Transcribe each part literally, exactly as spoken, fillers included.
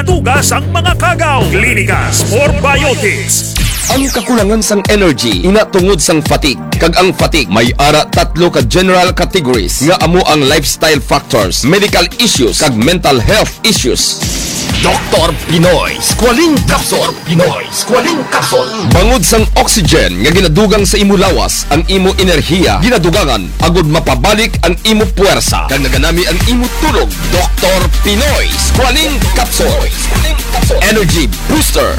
Tuga sang mga kagaw. Klinika Spore Biotics. Ang kakulangan sang energy ina tungod sang fatigue, kag ang fatigue may ara tatlo ka general categories nga amo ang lifestyle factors, medical issues, kag mental health issues. Doktor Pinoy Squalene Capsule. Pinoy Squalene Capsule. Bangod sang oxygen nga ginadugang sa imo lawas, ang imo enerhiya ginadugangan agud mapabalik ang imo puwersa kag naganami ang imo tulog. Doktor Pinoy Squalene Capsule. Energy Booster.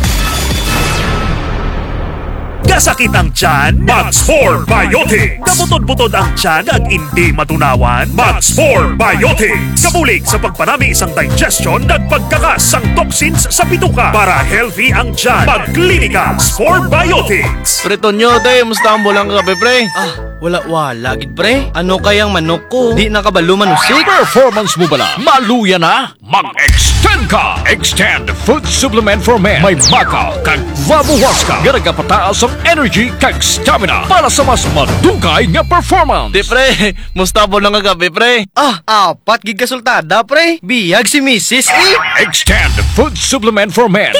Kasakit ang tiyan? Mag Spore Biotics. Kabutod-butod ang tiyan kag indi matunawan? Mag Spore Biotics. Kabulig sa pagpanami sang digestion kag pagkakas sang toxins sa bituka para healthy ang tiyan. Mag Klinika Spore Biotics. Pre Tonyo, te, musta ang bulang kagabi, pre? Ah, wala-wala gid, pre. Ano kayang manok ko? Di na kabalo manusik. Performance mo bala? Maluya na? Mag-extend ka! Extend Food Supplement for Men. May baka kag Vabuhuasca nga nagapataas ang energy kag stamina para sa mas madugay nga performance. Di, pre, musta ang bulang kagabi, pre? Ah, apat gid ka sultada, pre. Biyag si misis, eh. Extend Food Supplement for Men.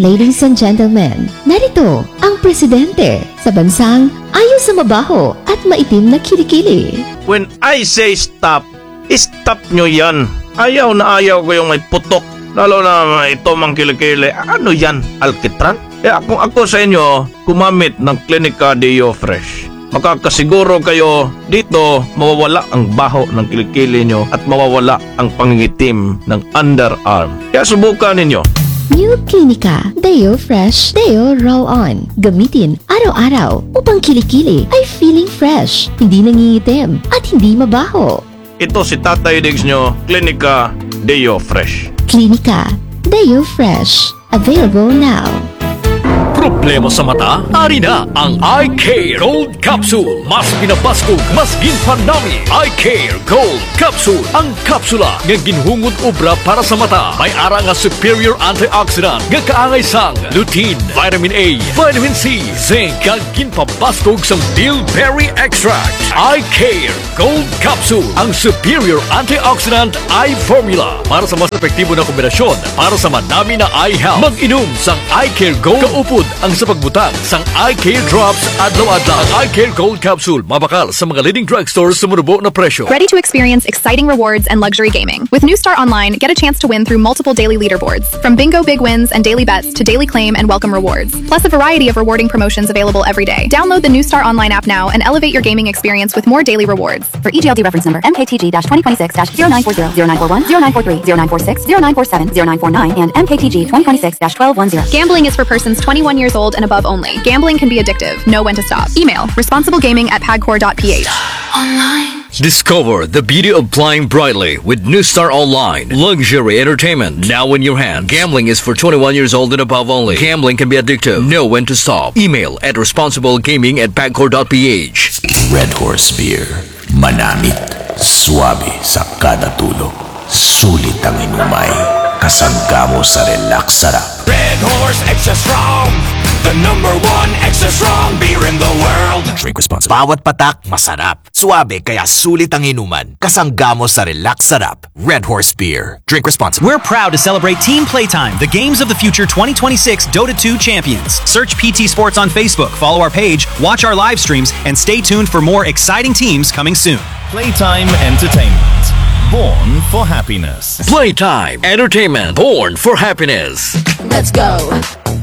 Ladies and gentlemen, narito ang presidente sa bansang ayaw sa mabaho at maitim na kilikili. When I say stop, stop nyo yan. Ayaw na ayaw ko yung may putok. Lalo na ito mang kilikili. Ano yan? Alkitran? Kaya kung ako sa inyo, gumamit ng Klinika Deo Fresh. Makakasiguro kayo dito mawawala ang baho ng kilikili nyo at mawawala ang pangingitim ng underarm. Kaya subukan ninyo. New Klinika Deo Fresh Deo Roll On. Gamitin araw-araw upang kilikili ay feeling fresh, hindi nangingitim, at hindi mabaho. Ito si Tatay Diggs nyo, Klinika Deo Fresh. Klinika Deo Fresh. Available now. Problema sa mata? Ari na ang Eye Care Gold Capsule. Mas pinabaskog, mas ginpanami. Eye Care Gold Capsule. Ang kapsula nga ginhungod obra para sa mata. May ara nga superior antioxidant nga kaangay sang lutein, vitamin A, vitamin C, zinc, kag ginpabaskog sang bilberry extract. Eye Care Gold Capsule, ang superior antioxidant eye formula para sa mas epektibo na kombinasyon para sa madami na eye health. Mag-inom sang Eye Care Gold kaupod ang sa pagbutang sang Eye Care Drops adlaw-adlaw. Ang Eye Care Gold Capsule mabakal sa mga leading drugstore sa manubo na presyo. Ready to experience exciting rewards and luxury gaming? With New Star Online, get a chance to win through multiple daily leaderboards, from bingo big wins and daily bets to daily claim and welcome rewards, plus a variety of rewarding promotions available every day. Download the New Star Online app now and elevate your gaming experience with more daily rewards. For E G L D reference number M K T G dash twenty twenty-six dash zero nine four zero, zero nine four one, zero nine four three, zero nine four six, zero nine four seven, zero nine four nine, and M K T G twenty twenty-six dash twelve one zero. Gambling is for persons twenty-one years old and above only. Gambling can be addictive. Know when to stop. Email responsiblegaming at pagcor dot P H. Online. Discover the beauty of playing brightly with New Star Online. Luxury entertainment now in your hand. Gambling is for twenty-one years old and above only. Gambling can be addictive. Know when to stop. Email at responsiblegaming at pagcor dot P H. Red Horse Beer. Manamit, suabe sa kada tulo. Sulit ang inumay. Kasangga mo sa relax sarap. Red Horse Extra Strong, the number one extra strong beer in the world. Drink responsibly. Bawat patak, masarap. Suabe, kaya sulit ang inuman. Kasangga mo sa relax sarap. Red Horse Beer. Drink responsibly. We're proud to celebrate Team Playtime, the Games of the Future twenty twenty-six Dota two champions. Search P T Sports on Facebook, follow our page, watch our live streams, and stay tuned for more exciting teams coming soon. Playtime Entertainment. Born for happiness. Playtime Entertainment. Born for happiness. Let's go.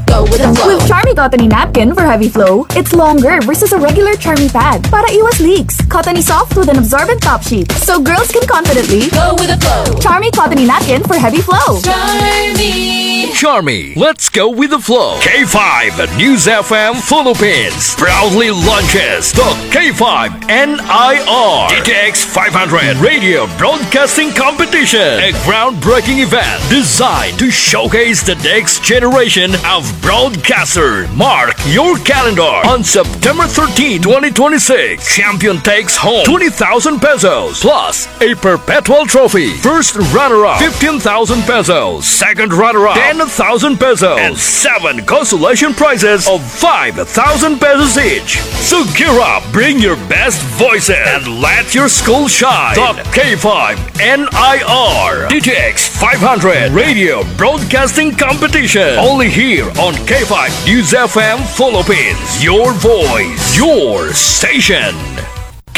Go with the flow. With Charmy Cottony Napkin for heavy flow, it's longer versus a regular Charmy pad para iwas leaks. Cottony soft with an absorbent top sheet, so girls can confidently go with the flow. Charmy Cottony Napkin for heavy flow. Charmy. Charmy, let's go with the flow. K five News F M Philippines proudly launches the K five N I R D T X five hundred Radio Broadcasting Competition, a groundbreaking event designed to showcase the next generation of broadcaster. Mark your calendar. On September thirteen, twenty twenty-six, champion takes home twenty thousand pesos plus a perpetual trophy. First runner-up, fifteen thousand pesos. Second runner-up, ten thousand pesos and seven consolation prizes of five thousand pesos each. So gear up, bring your best voices, and let your school shine. The K five N I R D T X five hundred Radio Broadcasting Competition. Only here on K five News F M Philippines. Your voice, your station.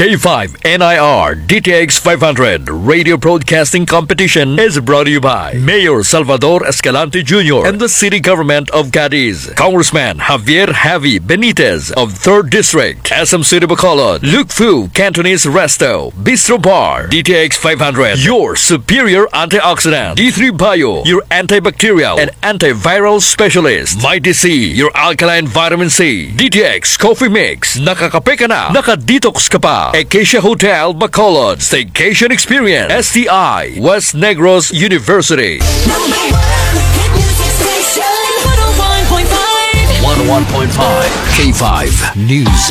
K five N I R D T X five hundred Radio Broadcasting Competition is brought to you by Mayor Salvador Escalante Junior and the City Government of Cadiz, Congressman Javier Javi Benitez of third District, S M City Bacolod, Lukfu Cantonese Resto, Bistro Bar, D T X five hundred, your superior antioxidant, D three Bio, your antibacterial and antiviral specialist, Mighty C, your alkaline vitamin C, D T X Coffee Mix, nakakape ka na, nakadetox ka pa. Acacia Hotel, Bacolod, Staycation Experience, S T I, West Negros University. Number one hit music station, one oh one point five. One oh one point five K five News.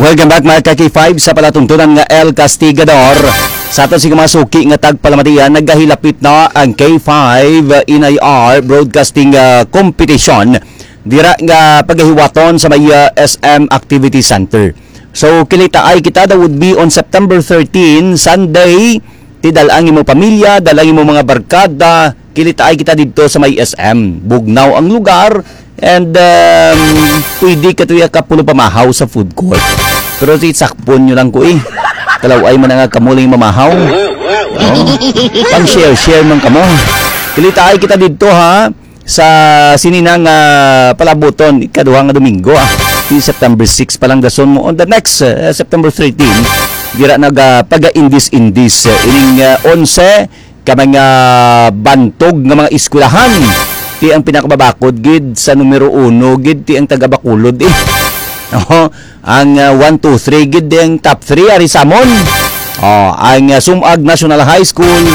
Welcome back, mga ka-K five, sa palatuntunan nga El Castigador. Sa aton sing mga suki nga tagpalamatian, nagahilapit na ang K five N I R Broadcasting, ah, Competition dira nga pagahiwaton sa may, ah, S M Activity Center. So, kilitaay kita, that would be on September thirteen, Sunday. Ti dal ang imo pamilya, dal ang imo mga barkada, kilitaay kita didto sa may S M. Bugnaw ang lugar, and, um, pwede ka tuya ka pulo pamahaw sa food court. Pero si sakpon nyo lang ko eh. Kalaw-ay man nga kamo lang yung mamahaw. Oh. Pang share-share man kamo. Kilitaay kita didto ha. Sa sini na nga palabuton, ikaduha nga Domingo, ah. Ti September six pa lang dason mo. On the next, uh, September thirteen, dira nagapagaindis-indis, uh, ining, uh, onse ka mga bantog nga mga eskwelahan. Ti ang pinakababakod gid sa numero uno gid ti ang taga Bacolod, eh. Oho, ang, uh, one, two, three gid ang top three ari sa amon. Oh, ang, uh, Sumag National High School,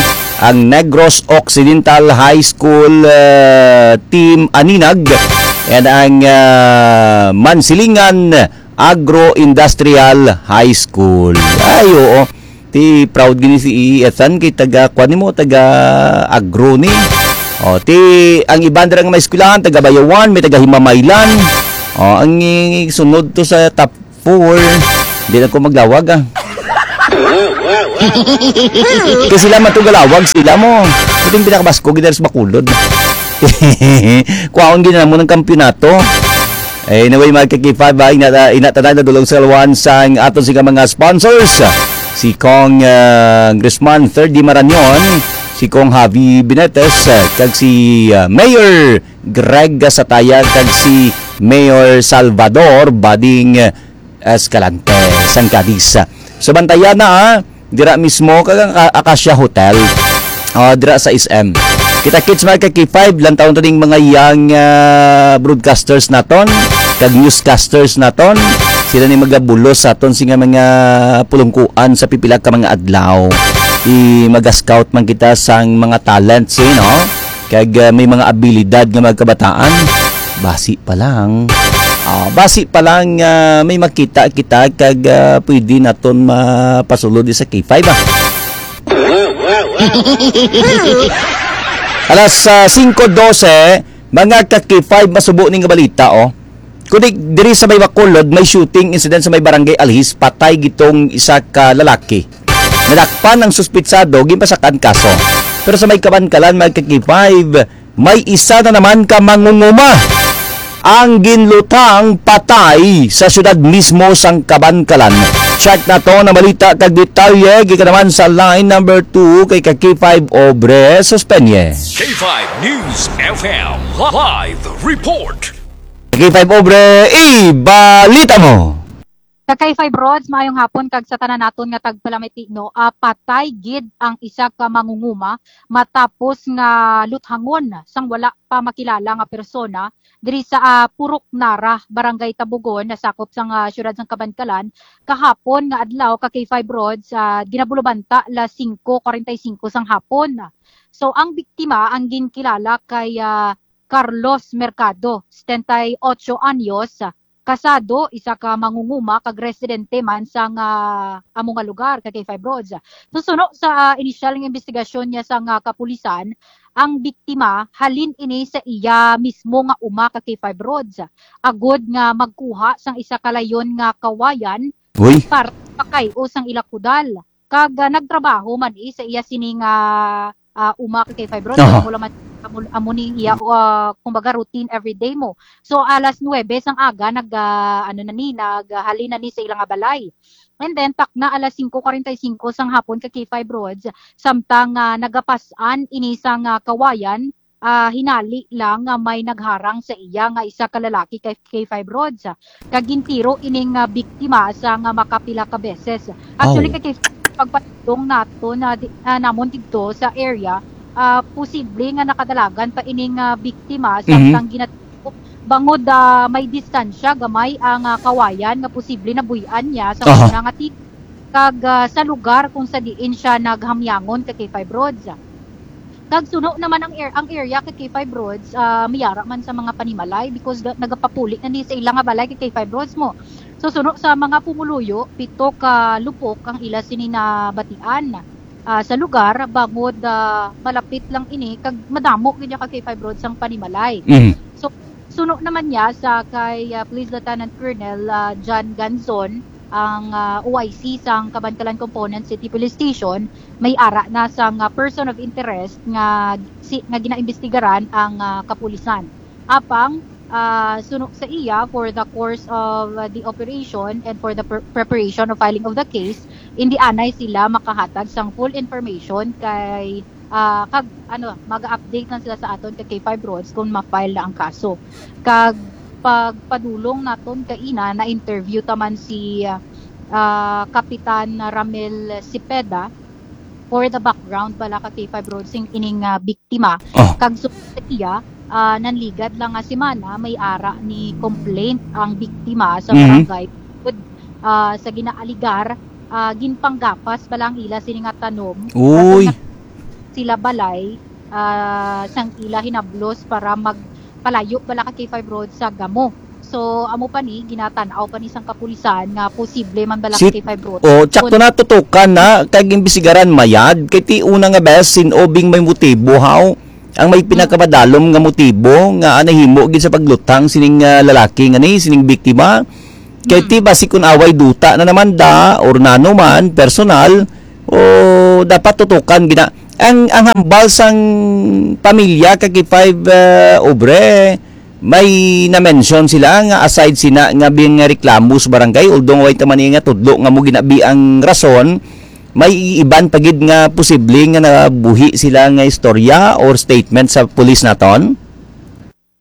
ang Negros Occidental High School, uh, Team Aninag, and ang, uh, Mansilingan Agro-Industrial High School. Ay, oo. Ti proud gini si Ethan kay taga, kuwan nimo, taga agro ni. O, ti ang iban dira nga may eskwelahan, taga Bayawan, may taga Himamaylan. O, ang i-, sunod to sa top four. Di na ko maglawag, ah. Kay sila man to galawag, sila mo. Ito yung pinakabasko, gid sa Bacolod. Kuhaon gid na mo ng kampiyonato. Anyway, mga ka-K five, ah, ina-, ina tanan na dulong sa lawan sang aton sing mga sponsors. Si Kong, ah, Grisman, third Di Marañon, si Kong Javi Binetes, ah, kag si, ah, Mayor Greg Sataya, kag si Mayor Salvador Bading Escalante, sang Cadiz. So, bantayan na, ah. Dira mismo, kag ang Ka-, Acacia Hotel. Ah, dira sa S M. Kita-kits, mga ka-K five, lantawon to ning mga young, ah, broadcasters naton, kag newscasters naton. Sila ni magabulos sa aton sing mga pulungkuan sa pipila ka mga adlaw. I-, maga-scout man kita sang mga talents, eh, no? Kag, ah, may mga abilidad nga mga kabataan. Basi pa lang. Ah, basi pa lang, ah, may makita kita kag, ah, pwede naton mapasulod sa K five, ah. Alas, ah, singko dose, mga ka-K five, masubo ni nga balita, oh. Kundi diri sa may Bacolod, may shooting incident sa may barangay Alhis, patay gid tong isa ka lalaki. Nadakpan ang suspitsado, ginpasakan kaso. Pero sa may Kabankalan, mga ka-K five, may isa na naman ka mangunguma ang ginlutang patay sa siyudad mismo sang Kabankalan. Check na to na balita kag detalye, gikan naman sa line number two kay ka-K five Obre Suspenye. K five News F M live report. K five Obre, ibalita mo. Sa K five Rods, maayong hapon kag sa tanan naton nga tagpalamati, no, ah, patay gid ang isa ka mangunguma matapos nga luthangon sang wala pa makilala nga persona diri sa, ah, Purok Nara, Barangay Tabugon, nasakop sang, ah, siyudad sang Kabankalan, kahapon nga adlaw ka K five Rods, ah, ginabulubanta las singko kwarenta y singko sang hapon. So, ang biktima ang ginkilala kay, ah, Carlos Mercado, setenta y ocho anyos, kasado, isa ka mangunguma kag residente man sang, ah, amo nga lugar, ka K five Rods. So, suno sa, ah, inisyal nga investigasyon niya sang, ah, kapulisan, ang biktima halin ini sa iya mismo nga uma, ka K five Rods, agod nga magkuha sang isa ka layon nga kawayan Uy. para pakay-o sang ila kudal. Kag, ah, nagtrabaho man, eh, sa iya sini nga, ah, uma, ka K five Rods. Aha. Amo lang man, amo, amo ni iya, ah, kumbaga, routine everyday mo. So, alas nuwebe sang aga, nag, ah, ano na ni, nag, ah, halin na ni sa ila nga balay. And then, takna alas singko kwarenta y singko sang hapon, ka K five Rods, samtang, ah, nagapas-an ini sang, ah, kawayan, ah, hinali lang nga may nagharang sa iya nga isa ka lalaki, ka K five Rods, kag gintiro ining, ah, biktima sa nga makapila ka beses. Actually, Aw. ka K five, pagpadulong nato na di-, ah, namon didto sa area, ah, posible nga nakadalagan pa ining, ah, biktima Mhm. samtang ginat-, bangod, ah, may distansya gamay ang, ah, kawayan nga posible nabuy-an niya sa Aha. una nga ti-, kag, ah, sa lugar kung sa diin siya naghamyangon, ka K five Rods. Kag suno naman ang ar-, ang area, ka K five Rods, ah, may ara man sa mga panimalay because ga-, nagapapuli na ni sa ila nga balay, ka K five Rods mo. So, suno sa mga pumuluyo, pito ka lupok ang ila sini nabatian, ah, sa lugar, bangod, ah, malapit lang ini kag madamo gid, ka K five Rods, ang panimalay. Mhm. So, suno naman niya sa kay, ah, Police Lieutenant Colonel, ah, John Ganzon, ang, ah, O I C sang Kabankalan Component City Police Station, may ara na sang, ah, person of interest nga si-, nga ginaimbestigaran ang, ah, kapulisan. Apang, ah, suno sa iya, for the course of, ah, the operation and for the pre-, preparation of filing of the case, indi anay sila makahatag sang full information kay, ah, kag, ano, mag-update lang sila sa aton kay K five Rods kung ma-file na ang kaso. Kag pagpadulong naton kaina, na-interview ta man si, ah, Kapitan Ramil Cepeda for the background bala, ka K five Rods, sing ining, ah, biktima. Oh. Kag suno sa iya, ah, nanligad lang nga semana, may ara ni complaint ang biktima sa Mhm. barangay. Kud, ah, sa ginaaligar, ah, ginpanggapas bala ang ila sini nga tanom. Uy. Sa sila balay, ah, sang ila hinablos para magpalayo bala, ka K five Rods, sa gamo. So, amo pa ni, ginatan-aw pa ni sang kapulisan nga posible man bala, Si-, ka K five Rods. Oh, tsakto Kun- na, tutukan na, kag imbestigaran mayad. Kay ti una nga bes, sin-o bing may motibo, haw? Ang may Hmm. pinakamadalom nga motibo nga nahimo gid sa pagluthang sining, ah, lalaki nga ni, sining biktima. Kay Hmm. ti basi kun away duta na naman da, or nano man, personal, o dapat tutukan gina-, ang, ang hambal sang pamilya, ka K five, ah, Obre, may na-mention sila nga aside sina nga bing reklamo sa barangay, although way ta man nga tudlo nga mo ginabi ang rason, may iban pa gid nga posible nga nabuhi sila nga istorya or statement sa pulis naton?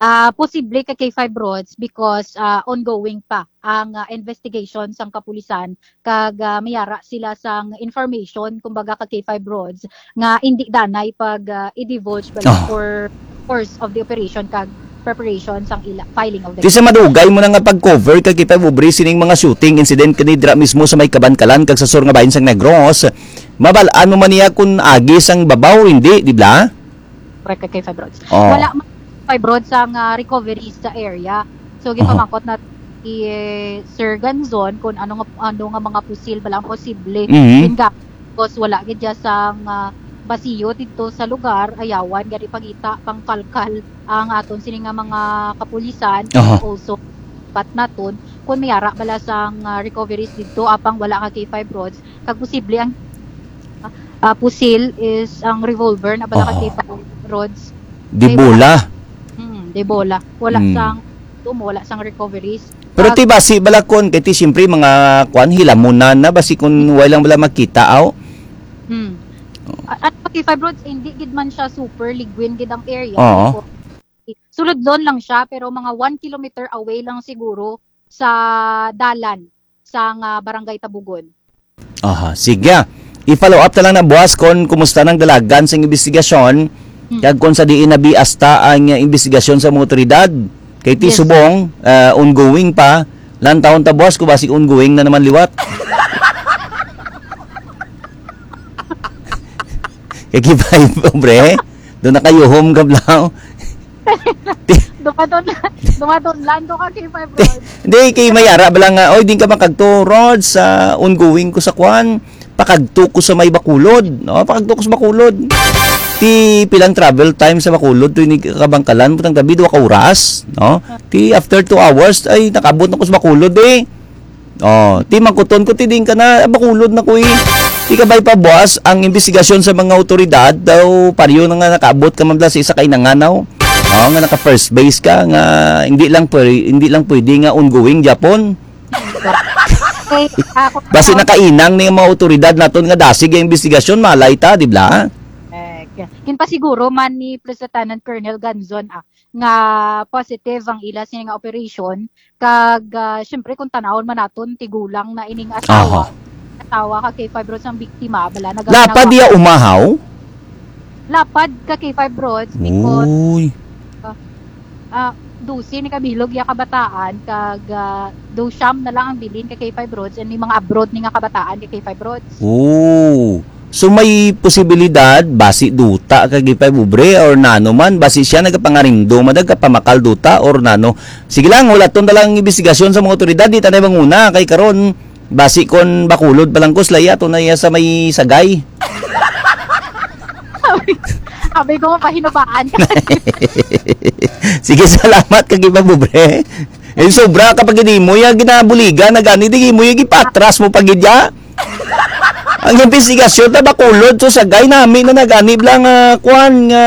Ah, posible, ka K five Rods, because, ah, ongoing pa ang, ah, investigation sang kapulisan kag, ah, may ara sila sang information, kumbaga, ka K five Rods, nga indi danay pag, ah, i-divulge bala Ah. for course of the operation kag preparation sang ila filing of the Ti sa case. Madugay mo na nga pag-cover, ka K five Obre, sining mga shooting incident kani dira mismo sa may Kabankalan kag sa sur nga bahin sang Negros, mabal-an mo man niya kun agi sang babaw, hindi, di ba? Correct, ka K five Rods. Oh. Wala man, K five Rods, ang, ah, recoveries sa area. So, Aha. ginpamangkot na si, eh, Sir Ganzon kung ano nga, ano nga mga pusil ba lang posible. Mhm. Yun nga, because wala gid dya sang, ah, basiyo dito sa lugar, ayawan, gani pangita, pangkalkal ang aton sini nga mga kapulisan, Aha. also, but naton, kung may ara bala sang, ah, recoveries dito, apang wala, ka K five Rods, kag posible ang, ah, pusil is ang revolver na bala, ka Aha. K five Rods. Di Kay bola. Hmm, di bola. Wala Hmm. sang, wala sang recoveries. Pero Pag ti basi bala kon, kay ti siyempre mga kwan, hilamunan na, basi kun way lang bala makita, aw. Hmm. A-, at pati fibroids, hindi gid man siya super liguin gid ang area. Oo. Suludlon lang siya, pero mga one kilometer away lang siguro sa dalan sang, ah, Barangay Tabugon. Aha, sige. I-follow up ta lang na, boss, kung kumusta nang dalagan sa imbestigasyon, Hmm. kag kung sa diin na bias ta ang, uh, imbestigasyon sa mga otoridad. Kay ti Yes. subong, uh, ongoing pa. Lantawon ta, boss, kung basi ongoing na naman liwat. Kay kibay, pobre. Doon na kayo, home gablaw. Ti-, Dumaton, dumaton lang ko ka K five Rods. Hindi, kay may ara ba lang nga, "Oy, di ka makagto, Rods, sa ongoing ko sa kwan, pakagto ko sa may Bacolod, no? Pakagto ko sa Bacolod." Ti pilang travel time sa Bacolod, to ini kabangkalan, butang gabi, duha ka oras, no? Ti after two hours, ay, nakabot na ko sa Bacolod, eh. Oh, ti mangkuton ko, ti din ka na, Bacolod na ko, eh. Ti kabay pa, boss, ang investigasyon sa mga otoridad, daw, pareho na nga nakaabot ka man bala sa isa ka inanganaw. Oh, nga naka first base ka, nga hindi lang pwede, hindi lang pwede nga ongoing Japon. Okay, ako Basi nakainang ni mga otoridad naton nga dasig ang investigasyon, malay ta, di ba? Correct. Ginpasiguro man ni Police Lieutenant Colonel Ganzon, ah, nga positive ang ila sini nga operation, kag, ah, syempre, kung tanawon man naton, tigulang na ining asawa. Aha. Asawa ka K five Rods ang biktima, bala, nagapanawa. Lapad iya umahaw? Lapad ka K five Rods because, Uy. ah, ah, dose ni kabilog iya kabataan, kag, ah, do siyam na lang ang bilin ka K five Rods, and may mga abroad ni nga kabataan ka K five Rods. Oh. So, may posibilidad, basi duta ka K five Obre, or nano man, basi siya nagapangarindo, madag ka pamakal duta, or nano. Sige lang, wala ton na lang investigasyon sa mga otoridad, di tanay manguna, kay karon, basi kon Bacolod pa lang ko, sila iya, to na iya sa may Sagay. Sabi, sabi ko, mapahinubaan ka. Sige, salamat ka, K five Obre. Eh, sobra ka pag hindi mo, ya, ginabuligan, na gani, di mo, ya, gipatras mo pag iya. Ang investigasyon na Bacolod, so, Sagay, nami na nagani lang, ah, kwan, nga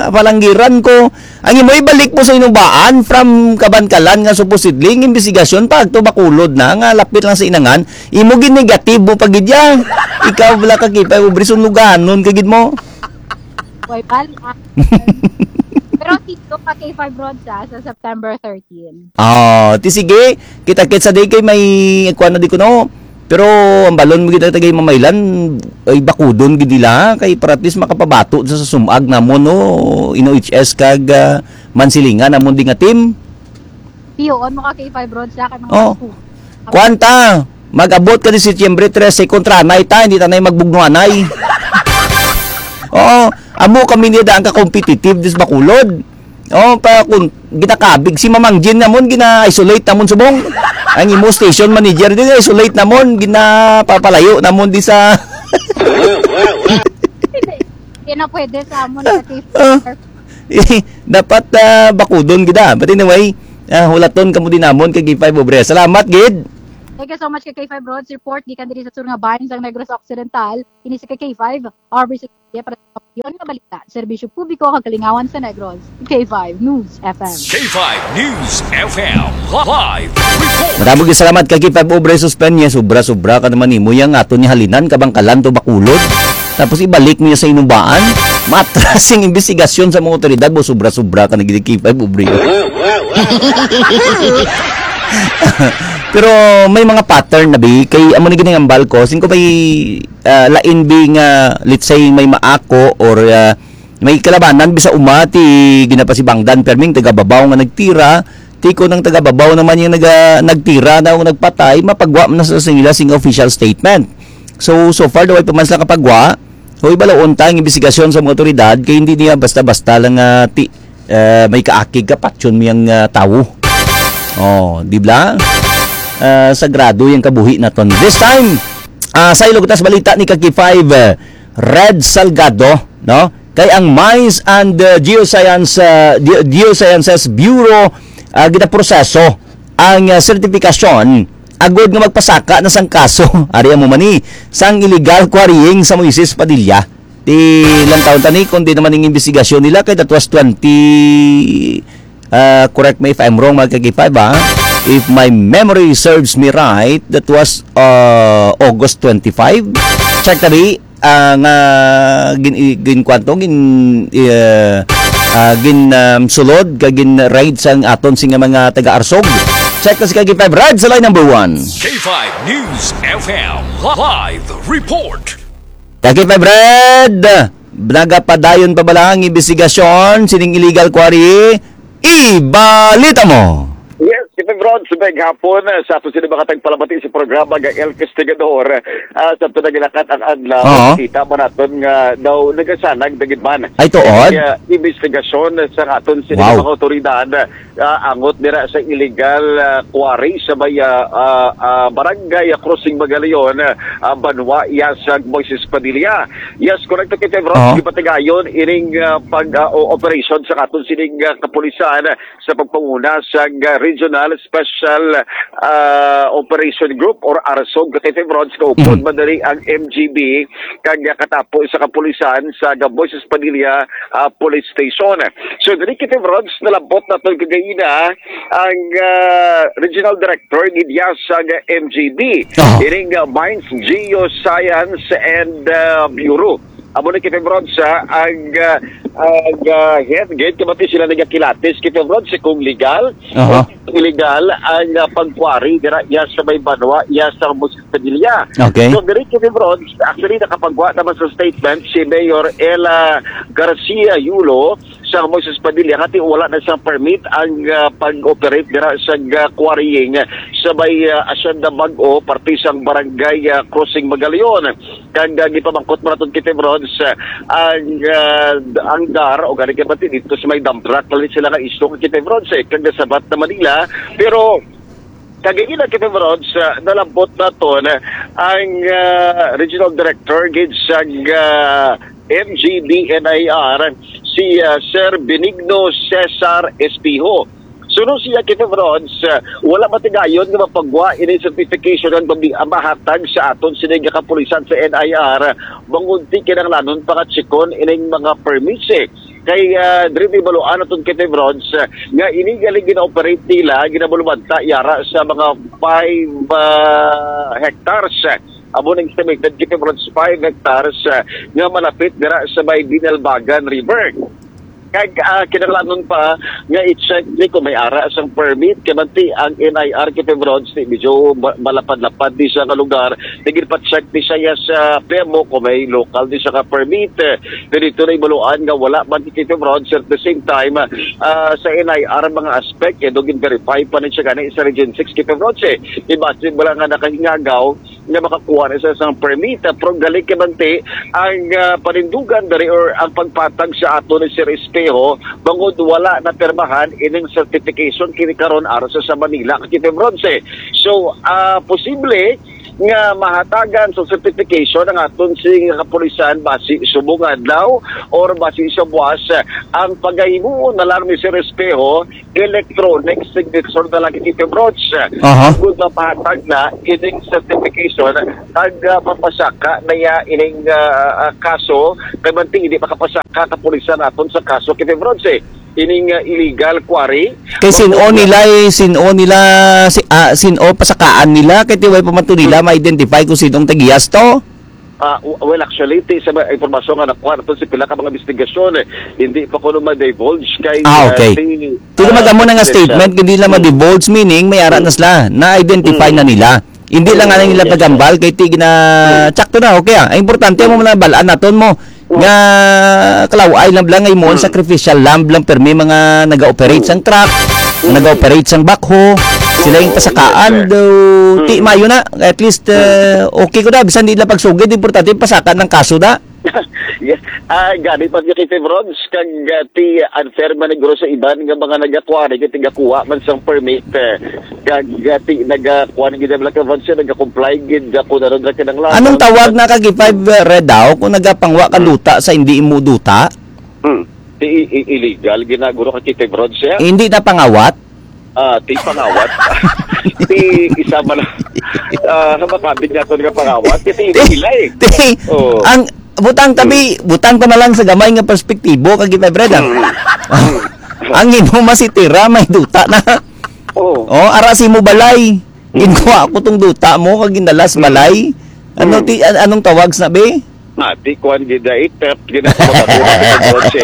palanggiran ko. Ang imo ibalik mo sa inubaan from Kabankalan nga supposedly ang investigasyon pa agto Bacolod na nga lapit lang sa inangan, imo gin-negative mo pa gid ya. Ikaw wala ka kita, pobre, sunluganon ka gid mo. Way bal-an. Pero dito pa K five Rods, ah, sa September thirteen. Ah, ti sige, kita-kits sa day kay may kuwan na di ko, no? Pero ang balon mo gid ang tagay mamaylan, ay bakudon gid nila, kay para at least makapabato sa, sa sumag namon, no? Ino H S kag, ah, Mansilingan namon di nga team. Piyoon mo ka K five Rods sa kay mga Oh. School. Kuwan ta, mag-abot ka ni Setyembre trese, kontra anay ta, hindi ta na magbugno anay. Oo, amo kami niya daan ka competitive dis Bacolod. Oh, pa kung ginakabig si Mamang Jean namon, gina-isolate namon subong. Ang imo station manager din, isolate namon, ginapapalayo namon di sa Hindi. Hindi na pwede sa amon sa T V. Ah. Dapat, ah, bakudon gid, ah. But anyway, ah, hulaton kamo din namon kay K five Obre. Salamat gid. Thank you so much kay K five Rods. Report gikan diri sa sur nga bahin sang Negros Occidental. Ini si K five, Aubrey Sutilla para sa kampiyon nga balita, serbisyo publiko kag kalingawan sa Negros. K five News F M. K five News F M live report. Madamo gid salamat kay K five Obre Suspenye. Sobra-sobra ka naman nimo yang ato ni halinan kabangkalan to Bacolod. Tapos ibalik niya sa inubaan. Matras ang investigasyon sa mga otoridad mo. Sobra-sobra ka na gid, K five Obre. Pero may mga pattern na bi kay amo ni ginangambal ko. Sing ko may, ah, lain bi nga, let's say, may maako or, ah, may kalabanan bi sa uma ti ginapasibangdan perming taga-babaw nga nagtira, ti kon ang taga-babaw naman yung naga-, nagtira na o nagpatay, mapagwa man na sa sila sing official statement. So, so far daw ay pa man sila kapagwa. Hoy, balaon ta ang imbestigasyon sa mga otoridad kay hindi niya basta-basta lang, ah, ti-, eh, may kaakig ka, patyon mo yung, ah, tawo. Oh, di ba? Ah, sagrado yung kabuhi naton. This time, ah, sa ilog tas balita ni Kaki five, eh, Red Salgado, no? Kay ang Mines and, uh, Geoscience, uh, Geo-, Geosciences Bureau, uh, ginaproseso ang, uh, sertifikasyon agod nga magpasaka na sang kaso. Ari amo man ni sang illegal quarrying sa Moises Padilla. Ti lang taon tani kundi naman ang investigasyon nila kay that was twenty, uh, correct me if I'm wrong, mga Kaki five, ha? If my memory serves me right, that was, uh, August twenty-five. Check tabi, ah, nga gin-, i-, ginkuan to, gin-, eh, ah, gin, um, sulod, kag gin-raid sang aton sing mga taga-Arsog. Check na si Kaki five Red sa line number one. K five News F M live report. Kaki five Red, nagapadayon pa bala ang imbestigasyon sining illegal quarry? Ibalita mo. Yes, Big Rod, sa may hapon, ah, sa ato sila mga tagpalamati sa programa nga El Castigador, ah, sa ito nagilakat ang adlaw, Oo. Kita man naton nga daw nagasanag na gid man. Ay, tuod? Ang, ah, investigasyon sa aton sila Wow. mga otoridad, ah, angot dira sa illegal, ah, quarry sa may, ah, ah, ah, barangay, ah, Crossing Magalion, ah, banwa, iya sa Moises Padilla. Yes, correct, Kate Rod. Oo. Gipatigayon ining, ah, pag, ah, o-, operation sa aton sining, ah, kapulisan sa pagpanguna sang, ah, Regional Special, ah, Operation Group or arsog, Kate Rod, kaupod Mhm. man diri ang M G B, kag, ah, katapo sa kapulisan sa Moises Padilla, ah, Police Station. So, diri, Kate Rod, nalabot naton kagahina ang, ah, Regional Director gid iya sang M G B, Aha. ining, ah, Mines Geoscience and, ah, Bureau. Amo ni Kevin Bronza ang, ah, ang, ah, head gate. Kamati sila nagakilatis, Kevin Bronza, kung legal Aha. o illegal ang, ah, pagkwari dira iya sa may banwa, iya sa Municipalidad. Okay. So, diri, Kevin Bronza, actually, nakapagwa naman sa statement si Mayor Ella Garcia Yulo sa Moises Padilla, nga ti wala na sang permit ang, ah, pag-operate dira sa, ah, quarrying sa may, ah, Hacienda Bag-o, parte sang barangay, ah, Crossing Magalion. Kag, ah, gipamangkot man naton, Kevin Bronza, ah, ang, ah, ang dar, o gani kay pati dito sa may dump truck, lalit sila nga isyu, Kevin Bronza, eh, kag nasabat na Manila. Pero, kagahina, Kevin Bronza, nalambot naton ang, ah, Regional Director gid sa, ah, M G B N I R, si, ah, Sir Benigno Cesar Espejo. Suno siya, Kevin Bronza, ah, wala matigayon nga mapagwa ini certification ang mabi-, ang mahatag sa aton sini nga kapulisan sa N I R, bangod ti kinahanglanon pa nga tsikon ining mga permits, eh. Kay, ah, diri may baluan naton, Kevin Bronza, ah, nga ini gali gina-operate nila, ginabulubanta yara sa mga five, ah, hectares. Amo nang estimated, Kevin Bronza, five hectares, ah, nga malapit dira sa may Binalbagan River. Kag, ah, kinahanglanon pa nga i-check ni kung may ara sang permit, kay manti ang N I R, Kevin Bronza, di medyo ma-, malapad-lapad di sa nga lugar. Nagpa-check ni siya sa P M O kung may local di sa ka permit. Eh, dito na ibaluan nga wala man, Kevin Bronza. At the same time, ah, sa N I R ang mga aspect, eh, do gin-verify pa ni siya gani sa Region six, Kevin Bronza. Eh, imagine mo lang nga nakahingagaw nga makakuha na sa isang permit. Ah, pero gali kay manti ang, ah, panindugan diri or ang pagpatag sa ato ni Sir Espejo, bangod wala na pirmahan ining certification kini karon aron sa, sa Manila, Kevin Bronza. So, ah, posible nga mahatagan sa certification ang aton sing kapulisan basi subong adlaw or basi sa buwas, ang pagahimo na lang ni Sir Espejo, electronic signature na lang, Kevin Bronza. Aha. Kung mapahatag na ining certification, kag, ah, mapasaka na ya ining, ah, ah, kaso, kay manti hindi makapasaka kapulisan naton sa kaso, Kevin Bronza, eh. Ining, ah, illegal quarry. Kay sin-o Bangod nila, eh, sin-o nila, si, ah, sin-o pasakaan nila, kay tiway pa man to nila Hmm. ma-identify kung sinong tagihas to? Ah, w-, well, actually, ti, sa mga impormasyon nga nakuha nato sa pila ka mga investigasyon, eh, hindi pa kuno ma-divulge kay, Ah, ah, okay. ti, Tulo ah, mag-amo na nga confidential. Statement, hindi lang Hmm. ma-divulge, meaning may ara Hmm. na sila, na-identify Hmm. na nila. Hindi lang Hmm, nga nila yes, pagambal, sir. Kay ti gina-, Hmm. tsakto na, okay, ah. Ang importante mo Hmm. na balaan naton mo, Hmm. nga kalaw-ay lang lang, nga imo ang Hmm. sacrificial lamb lang, permi mga nag-operate Hmm. sang truck, Hmm. nag-operate sang backhow, sila yung Oo, pasakaan, yes, sir. do, ti Hmm. mayo na, at least, Hmm. uh, okay ko na, bisan di lang pagsugid, importante, pasaka ng kaso na. Yes. Ah, gani pa si Kevin Bronza, kag, ah, ti unfair man siguro sa iban nga mga nagakuha, nga tigakuha man sang permit, eh, kag, ah, ti nagakuha na gid ang Kevin Bronza, nagakomply gid, ah, kung ano na kinahanglan. Anong tawag na kag five, uh, red daw kung nagapangwa ka Hmm. duta sa hindi imo duta? Hmm. Ti i-, i-, illegal, ginaguro ka, Kevin Bronza. Hindi na pangawat? Ah, ti pangawat. Ti isa man, ah, sa makabig naton nga pangawat, ti Ti, ila, eh. ti, Oo. ang, butang tabi, Mm. butang ko na lang sa gamay nga perspektibo, kag Kevin Bronza. Mm. Mm. Ang imo masitira, may duta na. Oo. Oh, ara si mo balay. Mm. Ginkuha ko tong duta mo, kag ginalas Mm. balay. Ano Mm. ti, an-, anong tawag sa bi? Ah, ti kuwan gid, eh, theft gid ang mga duta, Kevin Bronza.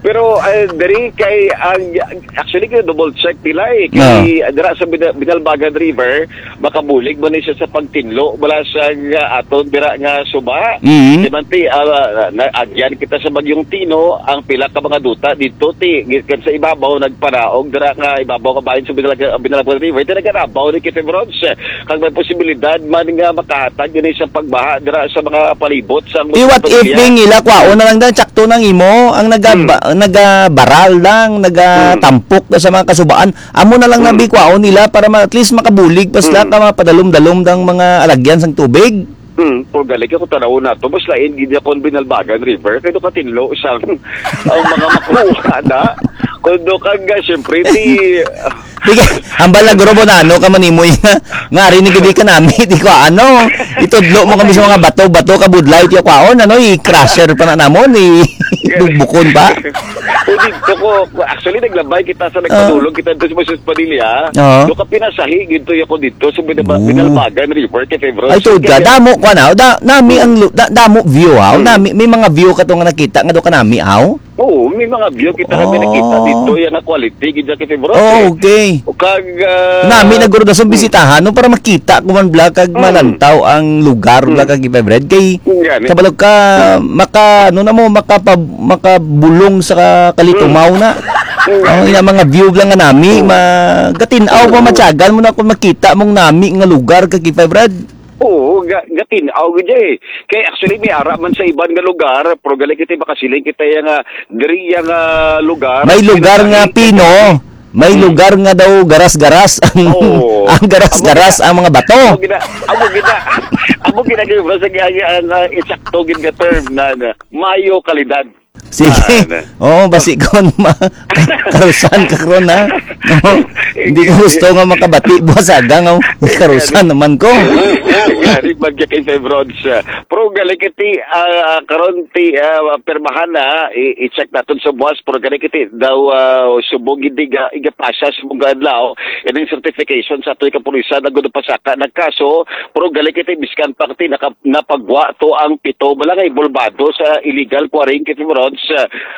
Pero, ah, diri kay ang, actually, kay double check nila, eh. Kay dira sa Bina-, Binalbagan River, makabulig man ni siya sa pagtinlo mula sa, ah, aton dira nga suba. Mhm. Di man ti, ah, na-, agyan kita sa Bagyong Tino, ang pila ka mga duta dito, ti, gikan sa ibabaw, nagparaog dira nga ibabaw nga bahin sa Binalbagan, Binalbagan River, ti nagarabaw ni Kitty Bronze. Kag may posibilidad man nga makahatag ini sa pagbaha dira sa mga palibot sa Ti, what if, pamilya. Ding, ila kwaon na lang dan, tsakto nang imo, ang nagaba-, Hmm. nagabaral lang, Hmm. nagatampok na sa mga kasubaan. Amo na lang Hmm. nabi kwaon nila para ma-, at least makabulig pa sila Hmm. ka mapadalom-dalom dang mga alagyan sang tubig. Hmm, kung galing ako tanaw na to, mas lain gid akong Binalbagan River, kay do katinlo sang ang mga makuha na. Kundo kag, ah, siyempre, ti, Di kay, hambal na guro mo na ano ka manimoy nga, nga ari ni gidi ka nami, di ko ano, itudlo mo kami sa mga bato, bato ka budlay, tiyo kwaon, ano, i-crusher pa na namon, i-, bugbukon pa. O dito ko, actually, naglabay kita sa Ah. nagpadulog kita dito sa Moses Padilla. Oo. Do ka pinasahi, gito ako dito sa Binaba-, Oo. Binalbagan River, kay February. Ay, tuod ka, Kaya damo, kwa na, da-, nami Hmm. ang lu-, da-, damo view, ha? Hmm. Nami, may mga view ka to nga nakita, nga do ka nami, aw? Oo, may mga view kita kami Oh. nakita dito, yan ang quality, gid kay February. Oh, okay. O kag, ah, Nami na guro dason hmm. bisitahan, no, para makita ko man bla kag Hmm. malantaw ang lugar bla Hmm. kag February. Kay Gani. kabalo ka, Hmm. maka, ano na mo, makapab-, makabulong sa ka-, kalitumaw Hmm. na. Hmm. Ang ina mga view lang nga nami, Hmm. ma-, gatin-aw pa Hmm. matyagan mo na kung makita mong nami nga lugar kag February. Oo, ga-, gatin-aw gid eh. Kay actually, may ara man sa iban nga lugar, pero gali kita makasiling kita yang, ah, diri yang, ah, lugar. May lugar nga Pinasahi, pino, may Hmm. lugar nga daw garas-garas ang, Oo. ang garas-garas Amo ang mga bato. gina-, amo gina-, amo gina-, amo gina-, ang, ah, insakto gid nga term na, na mayo kalidad. Sige. Ah, na. Oo, basi kon ma-, karusan ka karon, ha? Oo. Hindi ko gusto nga makabati buwas aga nga karusan naman ko. Gani, pagka kay Febron, ah, pero galing kiti, ah, karon ti, ah, pirmahan na, i-, i-check naton sa buwas, pero galing kiti daw, ah, subong hindi ga-, igapasa sa mga adlaw, ining certification sa atoy kapulisan na gudo pasaka nagkaso, pero galing kiti biskan pa kiti naka-, napagwa to ang pito balangay bulbado sa illegal quarrying kay Febron,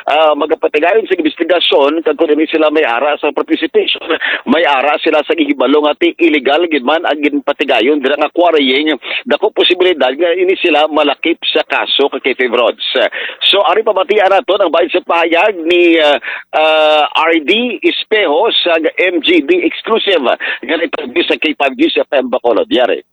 ah, magapatigayon sa investigasyon kag kung ini sila may ara sa participation, may ara sila sa gihibalo nga ti illegal gid man ang ginpatigayon dira nga quarrying. Dako posibilidad nga ini sila malakip sa kaso kay Febron. So, ari pamatian nato ang bahin sa pahayag ni, ah, ah, R D Espejo sa M G B exclusive nga interview sa K five News F M Bacolod. Yari.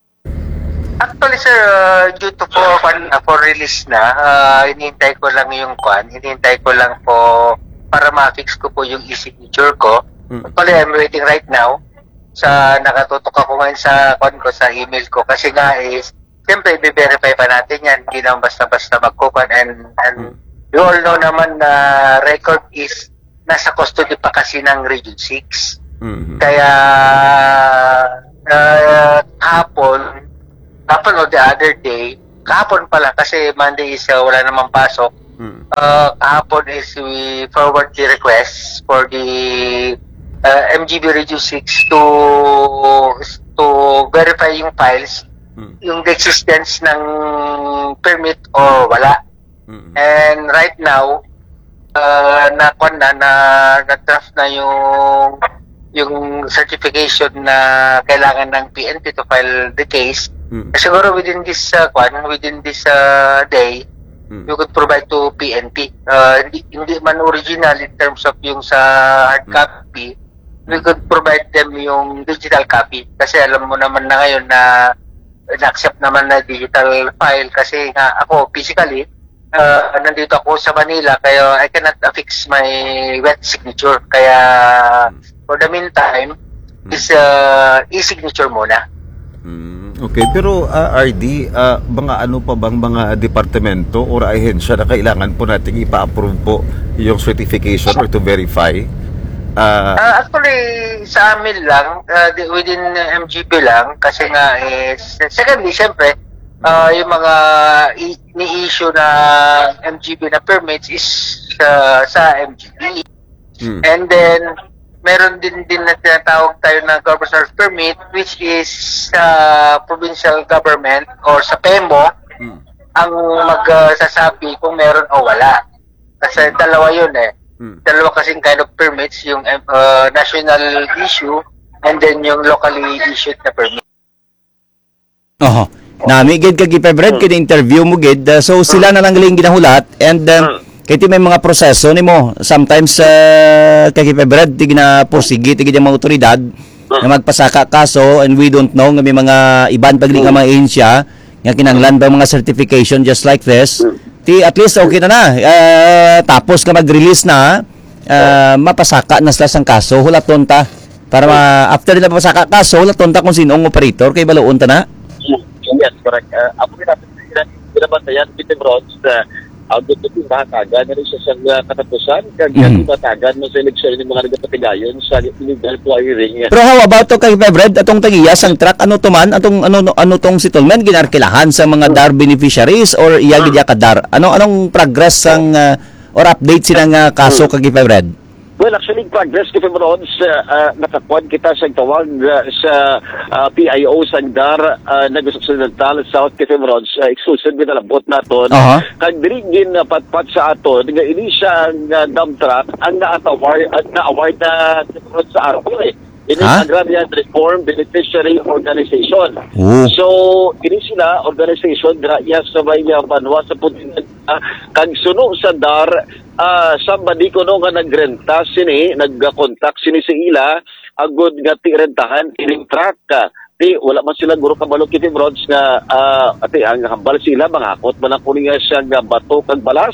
Actually, sir, uh, due to for, kwan na, for release na, uh, hinihintay ko lang yung kwan, hinihintay ko lang po para ma-fix ko po yung e-signature ko. Mm. Actually, I'm waiting right now sa nakatutok ako ngayon sa kwan ko, sa email ko. Kasi nga is, siyempre, i-verify pa natin yan. Hindi naman basta-basta magkukuan. And, and Mm. you all know naman na record is nasa custody pa kasi ng Region six. Mhm. Kaya, ah, kahapon, kahapon o the other day, kahapon pala kasi Monday is, ah, wala namang pasok. Mm. Ah, kahapon is we forward the request for the, ah, M G B Region six to, to verify yung files, Mm. yung existence ng permit o wala. Mm. And right now, uh, na, kwan na, na, na-draft na yung, yung certification na kailangan ng P N P to file the case. Mm. Siguro within this, uh, kwan, within this, uh, day, Mm. you could provide to P N P. Uh, hindi, hindi man original in terms of yung sa hard Mm. copy, we Mm. could provide them yung digital copy. Kasi alam mo naman na ngayon na na-accept naman na digital file kasi nga ako physically, uh, nandito ako sa Manila kaya I cannot affix my wet signature. Kaya Hmm. for the meantime, Hmm. is, uh, e-signature muna. Hmm, okay, pero, ah, R D, ah, mga ano pa bang mga departamento or ahensya na kailangan po nating ipa-approve po yung certification or to verify? Ah, Ah, actually, sa amin lang, ah, di-, within M G B lang, kasi nga is, secondly, syempre, ah, yung mga i-, ni-issue na M G B na permits is, ah, sa M G B. Hmm. And then, meron din, din na tinatawag tayo na governor's permit, which is sa provincial government or sa pemo Hmm. ang mag, ah, sasabi kung meron o wala. Kasi Hmm. dalawa yun eh. Dalawa kasing kind of permits, yung uh, national issue and then yung locally issued na permit. Oho. Nami gid kag Febred, kay interview mo gid. Uh, so sila na lang galing ginahulat, and uh, kay ti may mga proseso nimo. Sometimes uh, kay Febred, ti ginapursigi ti gid ang mga otoridad na magpasaka kaso, and we don't know nga may mga iban pag nga mga ahensya nga kinahanglan pa mga certification just like this. Ti at least okay na na. Uh, tapos nga mag-release na, uh, mapasaka na sila sang kaso, hulaton ta. Para ma after nila mapasaka kaso, hulaton ta kung sino ang operator kay baluon ta na. Yes, correct. Uh, ako rin natin sila binabantayan, Peter Bronze, uh, ang gusto ko mahatagan na rin siya sa uh, katapusan, kag mm. Mahatagan mo sa eleksyon ng mga nagapatigayon sa illegal quarrying. Pero how about to kay Febred, atong tagiya sang truck, ano to man, atong ano ano tong settlement ginarkilahan sa mga DAR beneficiaries or iya gid ka DAR? Ano anong progress sang uh, or update sila nga kaso kag Febred? Well, actually, in progress, Kevin Rons, uh, uh, nakakuan kita sa tawag uh, sa uh, P I O sang DAR, uh, Negros Occidental, South Kevin Rons, uh, exclusive ginalabot naton. Aha. Kag diri ginapatpat sa aton nga ini siya ang uh, dump truck ang na-award, ang na-award na Kevin Rons sa arbo eh. Ini Ha? Agrarian Reform Beneficiary Organization. Oh. So, ini sila organization dira iya sa may uh, banwa sa Pudingan, uh, kag suno sa DAR, ah, somebody kuno nga nagrenta sini, nagkontak sini sa ila, agod nga ti rentahan ining truck. Ah, ti wala man sila guro kabalo, Kitty Broads, nga ah, ati ang hambal sila, manghakot man ako niya siya nga bato kag balas.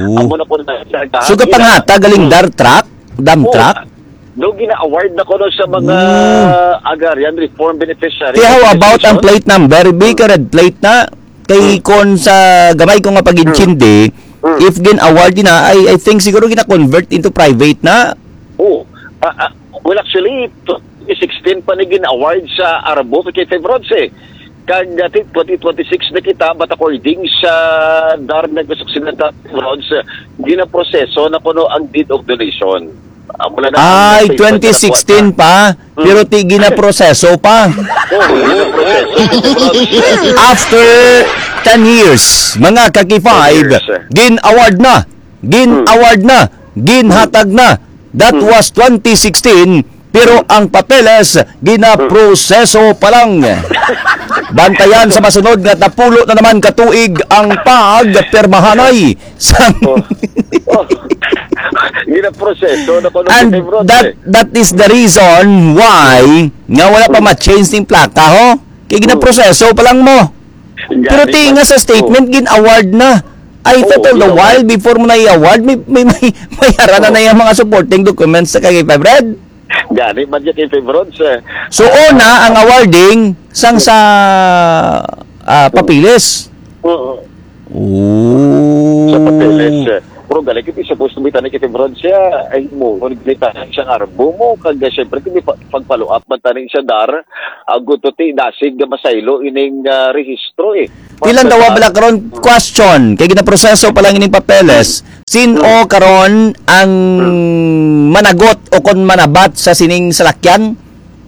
Oo. Amo na ko na siya So, gahatag. Kapanghatag galing DAR truck? Dump Oo. Truck? Do gina-award na kuno sa mga Oo. Agrarian Reform Beneficiary Kaya how about ang Organization? Plate number? Bi ka red plate na? Kay kon sa gamay ko nga pag-intindi, if gin-award na, I, I think siguro gina-convert into private na. Oh, ah, ah, well, actually, twenty sixteen pa ni gin-award sa Arbo kay Febronce. Kag uh, twenty twenty-six na kita, but according sa DAR Negros Occidental Febronce, ginaproseso na kuno ang deed of donation. Ah, wala na ang Ay, statement na nakuha twenty sixteen na. Pa. Hmm. Pero ti ginaproseso pa. Oh, ginaproseso. After ten years, mga kaki five, ten years, eh. Gin-award na. Gin-award na. Ginhatag na. That Hmm. was twenty sixteen, pero Hmm. ang papeles ginaproseso pa lang. Bantayan sa masunod nga napulo na naman ka tuig ang pagpirmahanay sang Oh. Oh. Ginaproseso na kuno And kay Bronze, that eh. That is the reason why nga wala pa ma-change ning plaka, ho? Kay ginaproseso pa lang mo. Pero Gani ti nga man. Sa statement, Oh. Gin-award na. I Oh, thought all the gin-award. While, before mo na i-award, may, may, may, may harana Oh. Na yung mga supporting documents sa kay Febred. Gani man niya kay Febron, sir. So, una ang awarding sang sa ah, papeles. Oo. Oh. Sa papeles, sir. Pero gali kiti supposed to be tani kay Febron siya, ay mo, kung nagkita siyang arbo mo, kag siyempre kung may pa- pagpaluap man tani sa DAR, ang guto ti dasig nga masaylo ining ah, rehistro eh. Ilang dawa bala karon question kay ginaproseso pa lang ining papeles. Sin-o karon ang managot o kon manabat sa sining salakyan?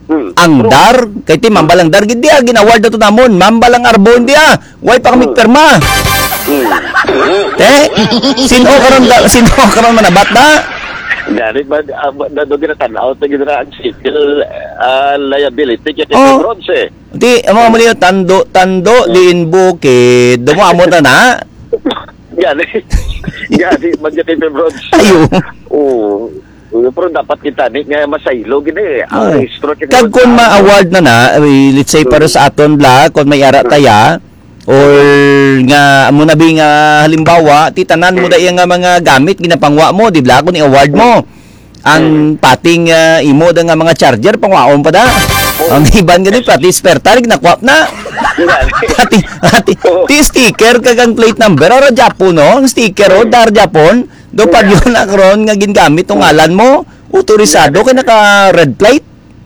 Hmm. Ang True. DAR, kay ti mambal ang DAR, gid diya, gin-award na to namon, mambal ang arbon diya, way pa kami Hmm. Pirma. Hmm. Te, sino karon da, sino karon manabat na? Dari ba, ah, ba- na doon ginatanaw, ito gina ang civil ah, liability kay Oh. Bronze eh. Di, ang mga muli, tando, tando, diin bukid, dumamo na na. Gani. Gani, man kay Bronze. Ayo. Oo. Pero dapat kita ni nga masaylo gid eh. Ang Oo. Registro kay Kag kung ma-award na na, eh, let's say para sa aton bla, kung may ara taya, or nga amo na bi nga halimbawa, ti tanan mo da iya nga mga gamit ginapangwa mo, di bla, kung i-award mo. Ang pating ah, imo da nga mga charger pangwaon pa da. Ang iban gani pati spare tire nakwap na. Pati pati ti sticker kag ang plate number ara Japon no, ang sticker o dar Japon. Do pa yun na karon nga gingamit ang ngalan mo, autorisado kay naka red plate.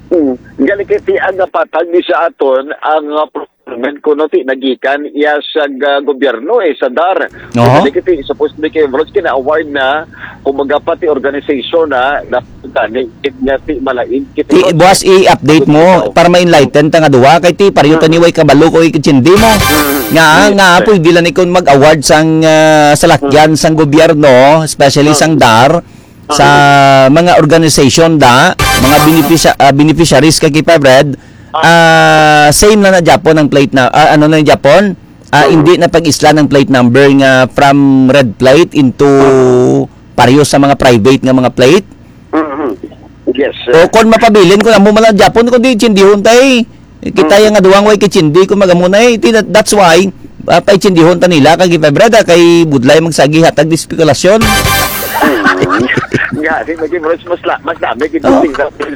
Hmm. Gali kay ti ang napatag ni sa aton ang uh, procurement kuno ti nagikan iya sa uh, gobyerno eh sa dar. Oho. Gali kay ti supposed to be kay Bronze kina-award na kumbaga pa ti organization na na gani kit nga ti malain kit Ti Bronze. Buwas i-update mo para ma-enlighten ta nga duha kay ti pareho ta ni way kabalo ko ikitsindi mo. Nga nga pwede lang ikon mag-award sang ah, salakyan sang gobyerno, especially sang dar. sa mga organization da, mga beneficia-, ah, beneficiaries kag K five Red, ah, same na na gyapon ang plate na, ah, ano na gyapon? Ah, hindi na pag-isla ng plate number nga from red plate into pareho sa mga private nga mga plate. Mhm. Yes, sir. O kon mapabilin, kung amo man lang gyapon, kung di tsindihon tay, kita Mm. yang nga duwang way kay tsindi, kung magamo na eh. Ti-, that-, that's why, ah, paichindihon ta nila, kay K five Red, ah, kay budlay magsagi hatag di spekulasyon. Mm. Nga, di, lagi, bro, mas la-, mas dami, kay Oh.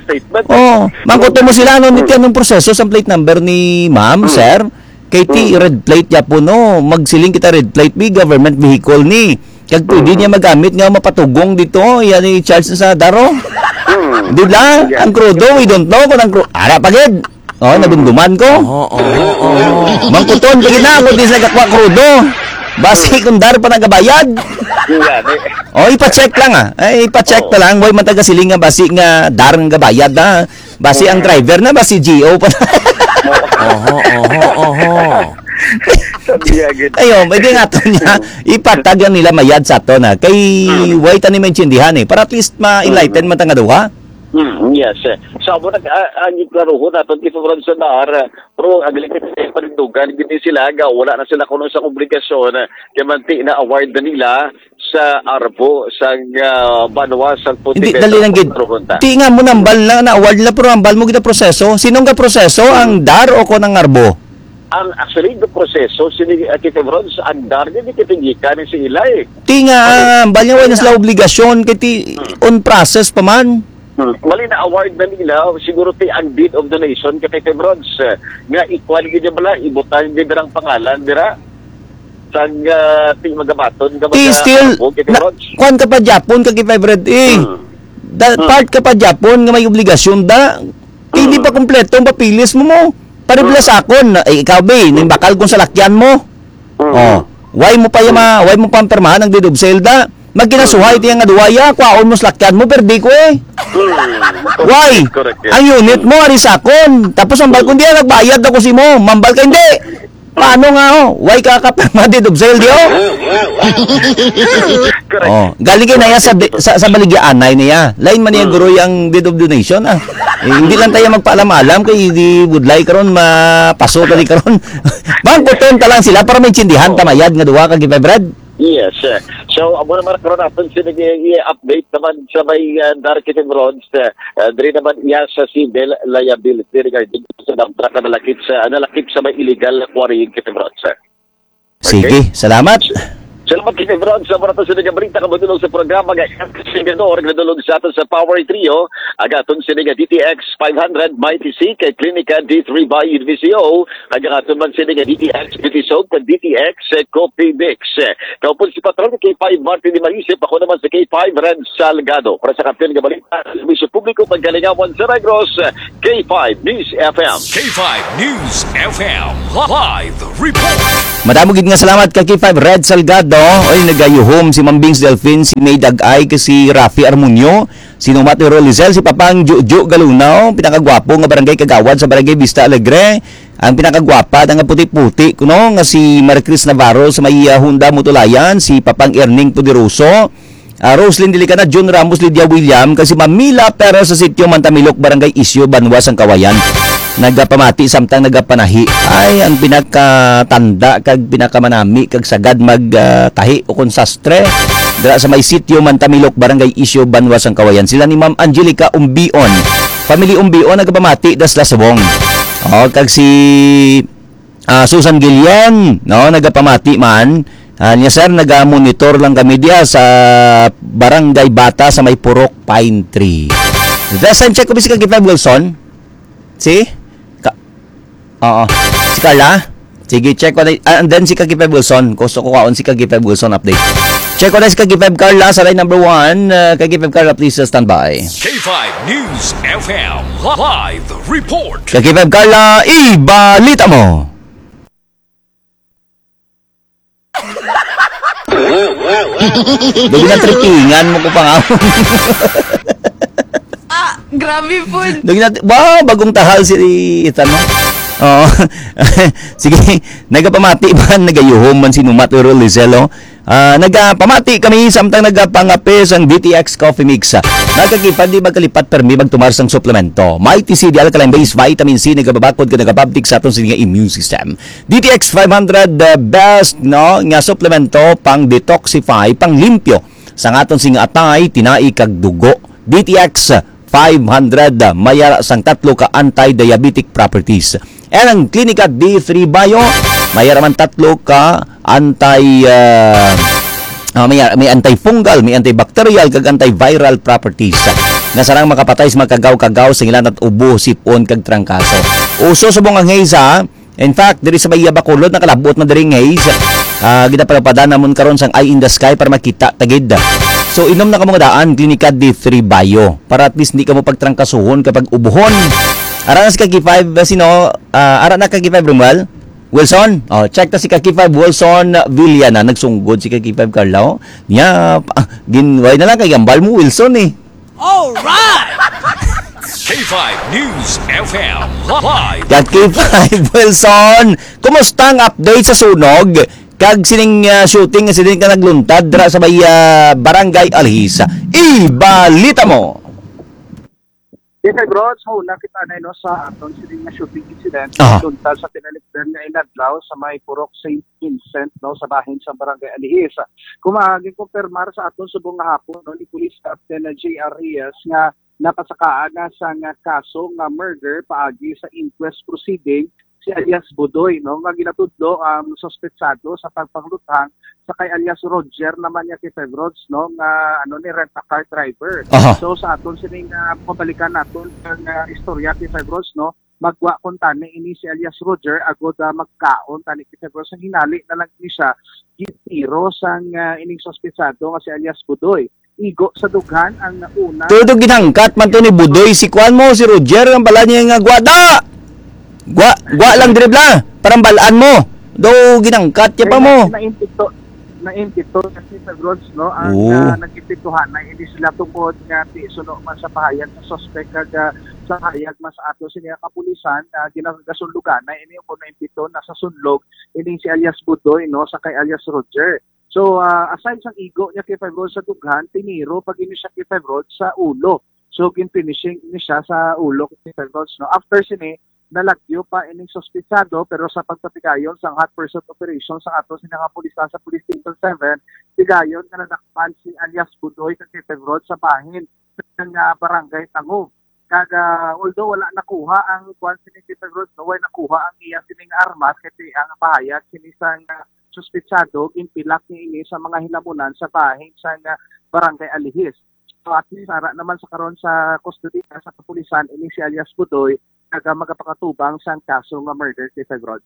Statement. Oh, mangkuto mo sila, ano, niti, Mm. anong proseso sa plate number ni ma'am, Mm. sir? Kay ti Mm. red plate gyapon, no? Magsiling kita red plate, bi, government vehicle ni. Kag pwede Mm. niya magamit nga mapatugong dito, yan i-charge na sa daro. Mm. Di ba? Yeah. Ang krudo, we don't know kung ang kru-, ara pa gid. Oh, Mm. nadumduman ko. Oho, oho, oho. Mangkuton pa gid na ako di sa gakwa krudo. Basi Mm. kung dar pa nagabayad. Yeah, di- Oh, ipa-check lang, ah. Ay, ipa-check Oo. na lang. Way man taga siling nga basi nga dar nga gabayad na. Basi ang Mm. driver na, basi G O pa na. Oho, oho, oho. Sabi niya gid. Ayo, may di nga to niya. Mm. Ipatag lang nila mayad sa ato na. Kay Mm. way tani maintindihan eh. Para at least ma-enlighten Mm. man ta nga duha. Mm, yes. So, amo nag-, ah, ang iklaruhon naton, Tito Ronson, na ara, pero ang likit sa panindugan, gini sila, nga wala na sila kuno sa obligasyon, kay manti na award na nila sa arbo, sa, ah, banwa, sa Hindi, Pontevedra, dali lang gid. Punta Junta. Ti nga mo nambal na, na-award na, pero ambal mo gid ang proseso. Sinong ga proseso, ang dar o kon ang arbo? Ang actually, the proseso, sini, ah, Tito Ronson, ang dar, hindi kitinggikan ni si Ilay. Ti nga, Ano? ambal niya, wala na sila obligasyon, kay ti, Hmm. on process pa man. Hmm. Mali na award na nila, siguro ti ang deed of donation kay Tito Ronson, eh, nga equal gid bala, ibutang gid ang pangalan dira. Sang, ah, ti magabaton nga Ti mga still, arbo, Tito na, Ronson. kuwan ka pa Japon, kag K five Red, eh. Hmm. Da-, Hmm. part ka pa Japon nga may obligasyon da. Hindi Hmm. pa kompleto ang papilis mo mo. Pare bala Hmm. sa akon, na, eh, ikaw, be, Hmm. nimbakal kong salakyan mo. Hmm. Oh, why mo pa yung Hmm. ma-, why mo pa ang pirmahan ang deed of sale da? Magkinasuhay Hmm. tiya nga duwa, ya, kwaon mo salakyan mo, perdi ko eh. Hmm. Why? Correct, yes. Ang unit mo, ari sa akon. Tapos ang Hmm. balkon diya, nagbayad ako si mo. Mambal ka, hindi. Paano nga, oh? Why ka ka pirma deed of sale, di, oh? Correct. Oh, galing kay naya sa, sa, sa baligya anay niya. Lain man niya, Hmm. guro, yung deed of donation, ah. Eh, hindi lang tayo magpaalam-alam kay di budlay karon, mapaso tali karon. Bangkuton ta lang sila para maintindihan ta mayad nga duha ka K five Red. Yes, sir. So, amo naman karon naton sila i-, i-update naman sa may, ah, Dark Kitchen Roads, ah, ah, diri naman iya sa civil liability regarding sa dump truck na nalakip sa, nalakip sa may illegal quarrying, Kitchen Roads, sir. Sige, Okay. salamat. Salamat, Kitchen Roads, sa mga to sa nagabalita ka madulong sa programa nga Sigador, nagdulog sa aton sa Power Trio, ang aton sini nga D T X five hundred Mighty C kay Klinika D three by N V C O, ang aton man sini nga D T X Beauty Soap kag D T X Coffee Mix. Kaupod si Patron K five Martin Di Marisip, ako naman si K five Red Salgado. Para sa kampiyon nga balita, sa serbisyo publiko, pagkalingawan sa Negros, K five News F M. K five News F M live report. Madamo gid nga salamat ka K five Red Salgado. Oy, nagayuhom si Mambings Delfin, si May Dag-ay, kag si Rafi Armunio, si Numat Rolizel, si Papang Juju Galunaw, pinakagwapo nga barangay kagawad sa Barangay Vista Alegre, ang pinakagwapa na nga puti-puti kuno nga si Maricris Navarro sa may, ah, Honda Mutulayan, si Papang Erning Poderoso, ah, Roslyn Dilicana, Jun Ramos, Lydia William, kag si Mamila Perez sa Sitio Mantamilok, Barangay Isyo, Banwa sang Kawayan. Nagapamati samtang nagapanahi. Ay, ang pinakatanda kag pinakamanami kag sagad mag, ah, tahi o kon sastre. Dira sa may Sitio Mantamilok, Barangay Isyo, Banwa sang Kawayan. Sila ni Ma'am Angelica Umbion. Family Umbion, nagapamati, das lasubong. Oh, kag si ah, Susan Guillen, no, nagapamati man. Ah, niya, sir, naga-monitor lang kami diya sa Barangay Bata sa may Purok Pine Tree. Last time check ko, bisi ka K five Wilson? Si? Ka-, oo. Si Carla? Sige, check ko na. Ah, and then si Kaki Five Wilson. Gusto ko kaon si Kaki Five Wilson update. Check ko na si Kaki Five Carla sa line number one. Ah, Kaki Five Carla, please, uh, stand by. K five News F M live report. Kaki Five Carla, ibalita mo. Dali na, tripingan mo ko pa nga. Ah, grabe po. Dali na, wow, bagong tahal si Ethan, no? Oh, sige, nagapamati man, nagayuhom man si Numat Earl Lizelo. Ah, nagapamati kami samtang nagapangape sang D T X Coffee Mix. Nagakipad di magkalipat permi magtumar sang suplemento. Mighty C D alkaline base vitamin C nagababakod ka nagababtik sa aton sa nga immune system. D T X five hundred, the best, no, nga suplemento pang detoxify, pang limpyo sa aton sing atay, tinai kag dugo. D T X five hundred, may ara sang tatlo ka anti-diabetic properties. And ang Clinica D three Bio, may ara man tatlo ka anti, ah, ah, may, may antifungal, may antibacterial, kag antiviral properties nga sarang makapatay sa mga kagaw-kagaw, singilan at ubo, sipon, kag trangkaso. Uso subong ang haze, ha? In fact, diri sa Bahia Bacolod, nakalabot na diri ang haze. Ah, ginapapada namon karon sang Eye in the Sky para makita tagid. So, inom na kamo nga daan, Clinica D three Bio, para at least hindi kamo pagtrangkasuhon kapag ubuhon. Ara na si Kaki five, ah, sino? Ah, ara na Kaki five, Romuel? Wilson? Oh, check ta si Kaki five, Wilson Villana. Nagsunggod si Kaki five, Carlo. Nya, ah, ginway na lang kay gambal mo, Wilson, eh. Alright! K five News F M live. Kaki five, Wilson, kumusta ang update sa sunog? Kag sining, ah, shooting nga sila ka nagluntad dira sa may, ah, Barangay Alhis. Ibalita mo. Yes, sir, bro. So, nakita na, no, sa aton sining nga shooting incident, Ah. Tuntal sa tinalikdan nga inadlaw sa may Purok Saint Vincent, no, sa bahin sa Barangay Alihis. Kung maginkumpirmar sa aton subong nga hapon, no, ni Police Captain J R Reyes nga napasakaan na sa nga kaso nga murder paagi sa inquest proceeding si alias Budoy, no, nga ginatudlo ang suspetsado sa pagpangluthang sa kay alias Roger naman niya kay Fevrods, no, nga ano ni rent a car driver. Aha. So sa aton sining, ah, pabalikan naton ang, ah, istorya kay Fevrods, no, magwa kuntani ini si alias Roger agod, ah, magkaon tani kay Fevrods. Ang hinali na lang ni siya gitiro sang, ah, ining suspetsado nga si alias Budoy. Igo sa dughan ang una. Todo ginangkat man to ni Budoy. Si kuan mo, si Roger, ang bala niya nga gwada. Gwa, gwa lang diri bla. Parang balaan mo. Do ginangkat niya pa mo. Ay, na-, naimpito, naimpito kasi sa Grods, no? Ang, Oo. Ah, nagipituhan na ini sila tungod nga di suno man sa pahayag sa suspek kag, ah, sa pahayag man sa ato sa iyang kapulisan, ah, ginagasunlugan na ini kung naimpito na sa sunlog ini si alias Budoy, no, sa kay alias Roger. So, ah, aside sang igo niya kay Fevrods sa dughan, tiniro pa gini siya kay Fevrods sa ulo. So, gin-finishing ni siya sa ulo kay Fevrods, no? After sini, nalagyo pa ining suspitsado, pero sa pagpatigayon sang hot pursuit operation sa ato sini nga pulis sa Police Station seven, tigayon nga nadakpan si alias Budoy kag si Fevrods sa bahin sa, ah, Barangay Tangub. Kag, ah, although wala nakuha ang kuwan sini kay Fevrods, no, way nakuha ang iya sining armas, kay ang pahayag sini sang, ah, suspitsado, ginpilak niya ini sa mga hinamunan sa bahin sang, ah, Barangay Alihis. So, at least, ara naman sa karon sa kustodiya sa kapulisan, ini si alias Budoy, kag, ah, magapakatubang sang kaso nga murder kay Fevrods.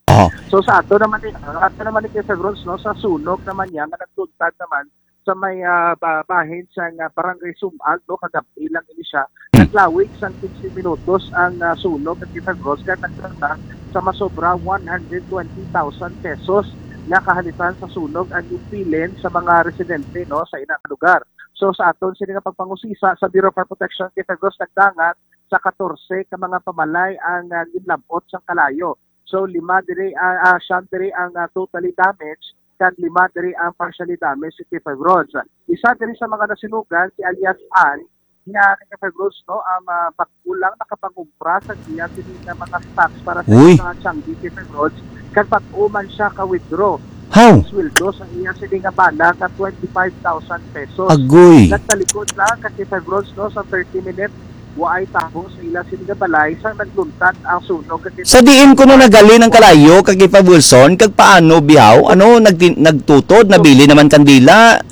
Oh. So, sa ato naman ni, ato naman ni kay Fevrods, no, sa sunog naman niya, nga nagluntad naman sa may, ah, ba-, bahin sa nga Barangay Sumag, no, kagabi lang ini siya. Hmm. Naglawig sang quince minutos ang, ah, sunog at kay Fevrods, kag nagtanda sa masobra one hundred twenty thousand pesos nga kahalitan sa sunog ang imbilin sa mga residente, no, sa ina nga lugar. So, sa aton sini nga pagpangusisa sa Bureau of Fire Protection, kay Fevrods nagdangat sa katorse ka mga pamalay ang, ah, ginlab-ot sang kalayo. So, lima diri, ah, ah, siyam diri ang, ah, totally damaged, kag lima diri ang partially damaged, si K five Rods. Isa diri sa mga nasunugan, si alias Ann, nga kay K five Rods, no, ang, ah, bag-o lang nakapangumpra sa iya sini nga mga stocks para sa Uy. Mga Changi, K five Rods, kag bag-o man siya ka-withdraw How? Ang sweldo sa iya sini nga bana ka twenty-five thousand pesos. Agoy. Nagtalikod lang kay K five Rods, no, sa thirty minutes, waay tawo sa ila sini nga balay sang nagluntad ang sunog kag Sa diin kuno naghalin ang kalayo kag K five Wilson, kag paano bihaw? Ano, nagtin-, nagtutod, nabili naman kandila?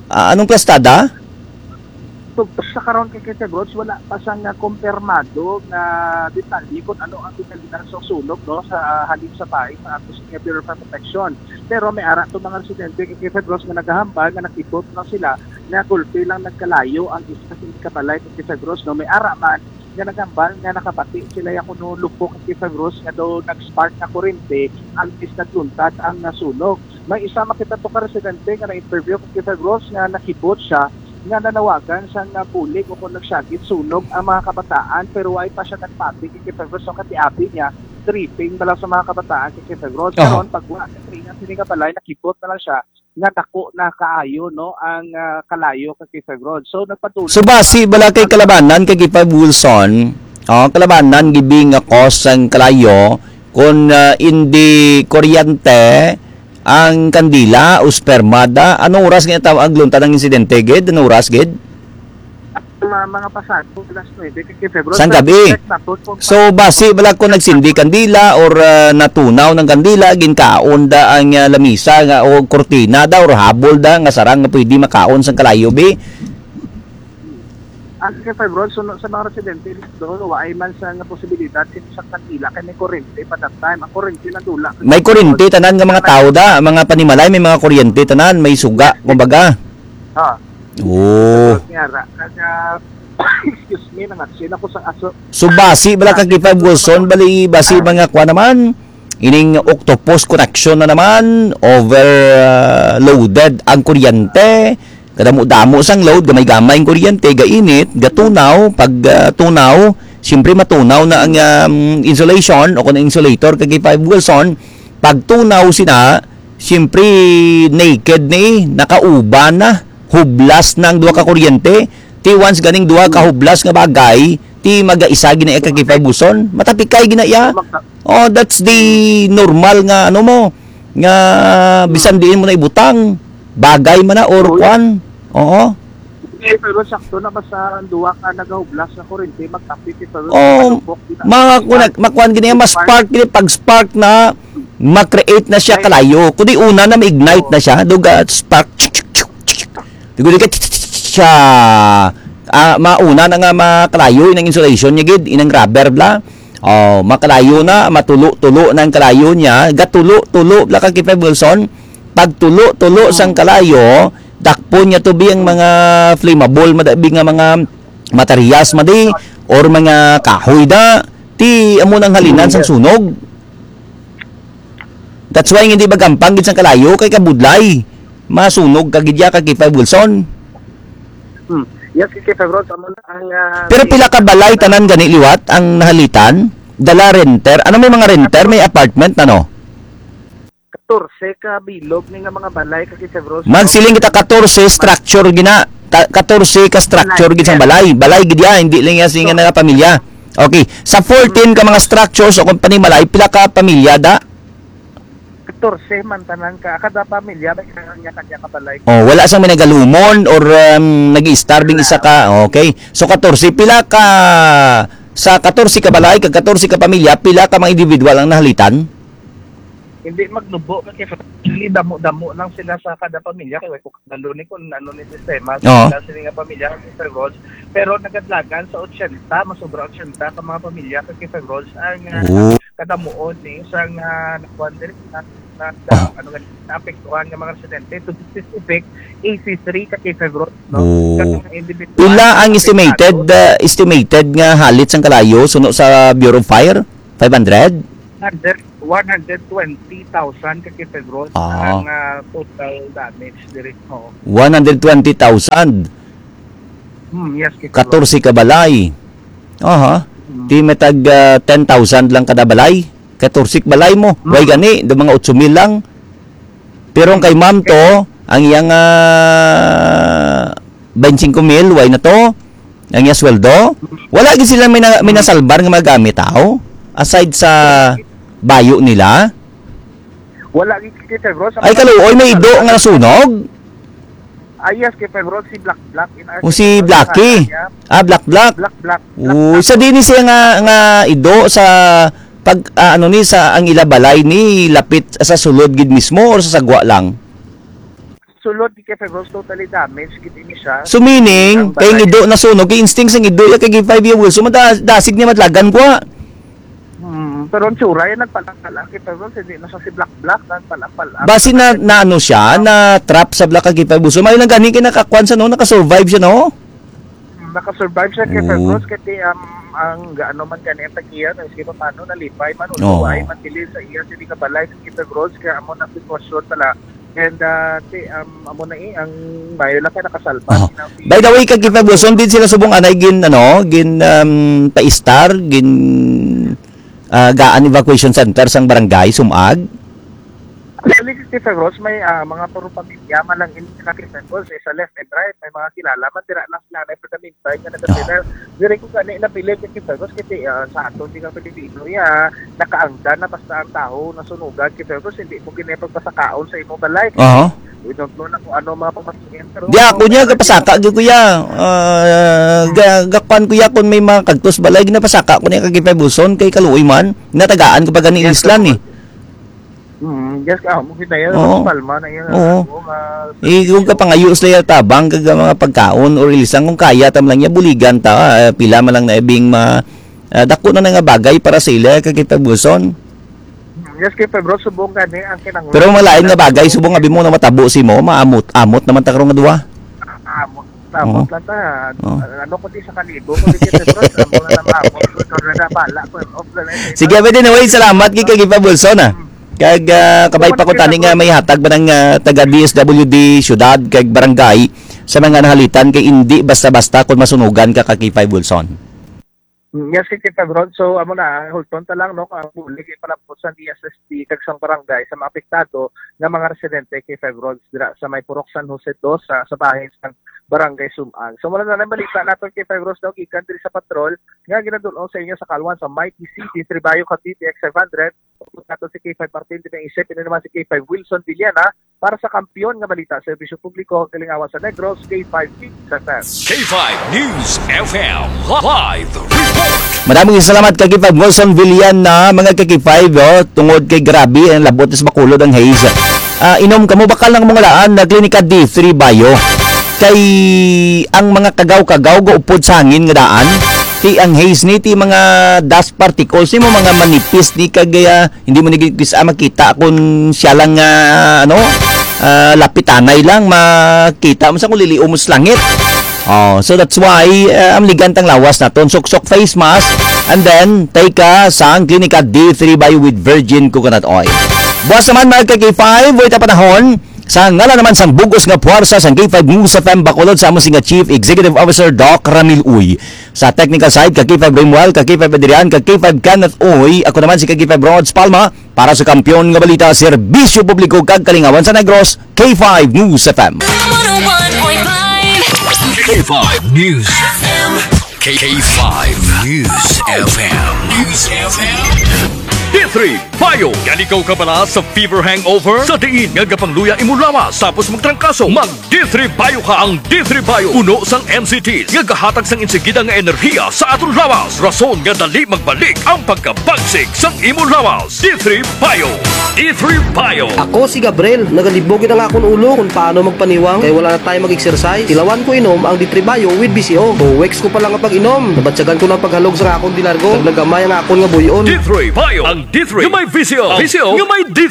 Ah, anong plastada? Tugtog sa karon kay K five Rods, wala pa sang, ah, kumpirmado nga detalye kung ano ang detalye sa sunog, no, sa, ah, halin sa bahay sa ato sa Bureau of Fire Protection. Pero may ara to mga residente kay K five Rods nga nagahambal nga nakita lang sila nga gulpi lang nagkalayo ang isa sa ikabalay kay K five Rods, no? May ara man nga nagambal nga nakabati sila ya kuno lupok kay K five Rods nga daw nag-spark nga kurente, antes nagluntad ang nasunog. May isa makita to ka residente nga na-interview kay K five Rods nga nakibot siya nga nanawagan sang, ah, bulig o kung nagsyagit sunog ang mga kabataan, pero way pa siya nagpati kay K five Rods. So, katiapi niya, tripping bala sa mga kabataan, K K Five Rods. Aha. Karon, pag wa na tripping, ang sini nga balay, nakibot na lang siya nga dako na kaayo, no, ang, ah, kalayo, K K Five Rods. So, nagpatuloy So, basi bala kay kalabanan, K K Five Wilson, oh, kalabanan, gibing nga cause ang kalayo, kung, ah, hindi kuryente, ang kandila o spermada. Anong oras nga tawag ang lunta ng insidente, gid? Anong oras, gid? Mga, mga pasado, alas nuebe, K K Five Rods. Sang gabi. Check nato kung So, basi bala kung nagsindi kandila or, ah, natunaw ng kandila, ginkaon da ang, ah, lamisa nga, o kurtina da or habol da nga sarang nga pwede makaon sang kalayo, bi? Ang K K Five Rods, suno sa mga residente, doon, waay man sa nga posibilidad sin sa kandila kay may kurente pa that time. Ang kurente nadula. May kurente, tanan nga mga tao da, mga panimalay, may mga kuryente, tanan, may suga, kumbaga. Ah. Oh. Nga ra, kaya, excuse me, nangatsin ako sa aso. So, basi bala, K K Five Wilson, bali, basi mga kwa naman, ining octopus connection na naman, overloaded ang kuryente, kadamo-damo sang load, gamay-gamay ang kuryente, gainit, gatunaw, pag, ah, tunaw, siyempre matunaw na ang, um, insulation o kung insulator, K K Five Wilson, pag tunaw sina, siyempre naked ni, nakauban na, hublas na ang duha ka kuryente, ti once ganing duha ka hublas nga bagay, ti magaisa gina iya, K K Five Wilson, matapikay gina iya. Oh, that's the normal nga, ano mo, nga bisan diin mo na ibutang, bagay man na or Oy. kwan. Oo. Eh, pero sakto na, basta ang duha ka nagahublas na kurente, magkapit ito. Oh, Malupok, di na. mga kunag, makuan gini, mas spark gini, pag spark na, ma-create na siya Ay. kalayo. Kundi una na ma-ignite Oo. na siya, duga spark. Duga, duga, siya. Ah, mauna na nga makalayo inang insulation niya gid, inang rubber bla. Oh, makalayo na, matulo-tulo na ang kalayo niya, gatulo-tulo bla, K K Five Wilson. Pagtulo-tulo sang kalayo, dakpon niya to bi ang mga flammable, madabi nga mga materials, madi, or mga kahoy da. Ti amo nang halinan sang sunog. That's why hindi magampang gid sang kalayo kay kabudlay. Masunog ka gid ya, K K Five Wilson. Hmm. Yes, K K Five Rods, amo na ang, ah, Pero pila ka balay tanan gani liwat ang nahalitan? Dala renter? Ano may mga renter? May apartment, ano? Katorse ka bilog ni nga mga balay, K K Five Rods. Magsiling kita, katorse structure gina, ta-, katorse ka structure gid sang balay. Balay gid ya, hindi lang ya singa nga pamilya. Okay, sa fourteen ka mga structures o kung panimalay, pila ka pamilya da? Katorse man tanan ka, kada pamilya may kanya-kanya ka balay. Oh, wala sang may nagalumon or, um, nag-i-starving isa ka. Okay. So, katorse, pila ka, sa katorse ka balay, kag katorse ka pamilya, pila ka mga individual ang nahalitan? Hindi magnubo, kasi actually, damo-damo lang sila sa kada pamilya, kay way ko kabalo ni kung ano ni sistema sa Oo. sila, sila nga pamilya, K K Five Rods. Pero nagadlagan sa otsenta, masobra otsenta ka mga pamilya, K K Five Rods, ang, ah, Oo. kadamuon ni isang, ah, nakuan diri, na, na, na, Oh. ano nga, naapektuhan nga mga residente. To be specific, eighty-three, K K Five Rods, no? Oo. Kasi mga individual Pila ang na estimated, apektado. ah, estimated nga halit sang kalayo suno sa Bureau of Fire? Five hundred? Hundred, one hundred twenty thousand, K K Five Rods, Ah. ang, ah, total damage diri. Oo. One hundred twenty thousand. Hmm, yes, K K Rods. Katorse ka balay. Aha. Hmm. Di may tag, ah, ten thousand lang kada balay. Katorse ka balay mo. Hmm. Way gani, do mga otso mil lang. Pero ang kay ma'am to, ang iyang, ah, twenty-five mil, way na to. Ang iya sweldo? Wala gid sila may na-, may nasalbar nga mga gamit, aw? Aside sa bayo nila? Wala gid, K K Rods. Ay, kaluoy, may ido nga nasunog? Ah, yes, K K Rods, si Black Black in O, si Argentina, Blacky. Pangalan niya. Ah, Black Black. Black Black. Black Uy, Black. Sa di ni siya nga, nga ido sa pag, ah, ano ni, sa ang ila balay ni lapit sa sulod gid mismo or sa sagwa lang? Sulod, K K Rods, totally damaged gid ini siya. So, meaning, Ang kay balay. Ido na sunog, kay instinct sang ido, ya kay five year old. So, mada-, dasig niya madlagan ko, ah. Hmm, pero ang tsura, yan, nagpalak-palak, K K Rods, hindi na siya si Black Black, nagpalak-palak. Basi na, na ano siya, na trap sa Black kay five year old. So, may lang gani kay nakakuan siya, no? Nakasurvive siya, no? Hmm, nakasurvive siya, K K Oo. Rods, kay, um, ang gaano man gani ang tagiya, no? Sige pa, paano, nalipay man, Oo. Usuway, man, dili sa iya, hindi ka balay, K K Rods, kaya amo na sitwasyon pala. And, ah, ti, um, amo na eh, ang mayo lang kay nakasalba. Oh. Sila si By the way, kag kita gusto, din sila subong anay gin, ano, gin, um, paistar, gin, ah, gaan evacuation center sang barangay Sumag? Actually, K five Rose, may, ah, mga puro pamilya man lang ini, K five Rose, eh, sa left and right, may mga kilala man, dira lang sila na pagkamintay nga nagkasila. Diri ko gani napili, K five Rose, kasi, ah, sa aton, di nga Pilipino, ya, nakaangdan na basta ang taho, nasunugan, K five Rose, hindi mo gini pagpasakaon sa imo balay. Aha. We don't know na kung ano mga pamatuyan, pero Di ako niya, gapasaka gyud ko ya. Ah, ga-, gakuan ko ya kung may mga kagtos balay, ginapasaka ko niya kag K five Wilson, kay kaluoy man. Natagaan ko pa gani Yes, islan, sir. eh. Mm, yes, ah, mo kita yan, Oo. Palma na yan, Oo. ano, ah, Eh, kung kapangayo sila tabang kag mga pagkaon or ilisang, kung kaya tam lang niya, buligan ta, ah, pila man lang na ibing ma-, ah, dako na na nga bagay para sa ila, kag K five Wilson. Mm, yes, K five Rose, subong gani ang kinahanglan. Pero malain nga bagay, subong nga bimo na matabo si mo, maamot, amot naman ta karon nga duha. Amot, amot Oo. lang ta. Oo. Ano ko di sa kalibo, ko di kita, bro, sa mga namamot, ko na nabala ko, off na lang, Sige, pwede na, way, salamat kay kag K five Wilson, ah. Kag, ah, kabay pa ko tani nga may hatag ba ng, ah, taga D S W D syudad kag barangay sa mga nahalitan kay indi basta-basta kung masunugan ka ka K five Wilson. Mm, yes, K five Rod. So, amo na, hulton ta lang, no, ang bulig ipalabot sa D S S P kag sang barangay sa mga apektado nga mga residente, K five Rod, dira sa may Purok San Jose two, sa, sa bahin sa barangay Sumag. So, muna na lang balita naton, K five Rod, no, gikan diri sa patrol nga ginadul-ong sa inyo sa kalwan sa Mighty City, Tribayo, Cavite, X five hundred. Nato si K five Martin Pinangisip, ino naman si K five Wilson Villana para sa kampiyon nga balita, serbisyo publiko, kalingawan sa Negros, K five News F M. K five News F M live report. Maraming salamat kay K five Wilson Villana, mga ka K five, oh, tungod kay grabe ang labot sa Bacolod ang haze. Ah, inom kamo bakal ng mga laan na Klinika D three Bayo. Kay ang mga kagaw-kagaw gaupod sa hangin nga daan, ti ang haze ni, ti mga dust particles ni mo, mga manipis ni, kag, ah, hindi mo ni gid bisa makita kung siya lang nga, ano, ah, lapitanay lang makita mo sa kung liliom mo sa langit. Oh, so that's why, ah, ang ligantang lawas naton, suksok face mask, and then take, ah, sang Klinika D three Bio with virgin coconut oil. Buwas naman, mga ka K five, way ta panahon, sa ngalan naman sang bugos nga puwersa sang K five News F M Bacolod, sa amo sing Chief Executive Officer Doc Ramil Uy. Sa technical side, ka K five Rimuel, ka K five Adrian, ka K five Kenneth Uy, ako naman si ka K five Rods Palma, para sa kampiyon nga balita, serbisyo publiko kag kalingawan sa Negros, K five News F M. One oh one point five. K five News F M. K five News F M. News F M. D three Bio. Yan ikaw kabala sa fever hangover? Sa diin nga gapangluya imo lawas tapos magtrangkaso, mag D three Bio ka. Ang D three Bio puno sang M C T nga gahatag sang insigida nga enerhiya sa aton lawas, rason nga dali magbalik ang pagkabagsik sang imo lawas. D three Bio. D three Bio. Ako si Gabriel. Nagalibog gid ang akon ulo kung paano magpaniwang kay wala na tayo mag-exercise. Tilawan ko inom ang D three Bio with V C O. Two weeks ko pa lang ang pag-inom, nabatyagan ko na ang paghalog sa akon dilargo. Naglagamay ang akon nga buyon. D three Bio. Ang D three nga may V C O. V C O nga may D three.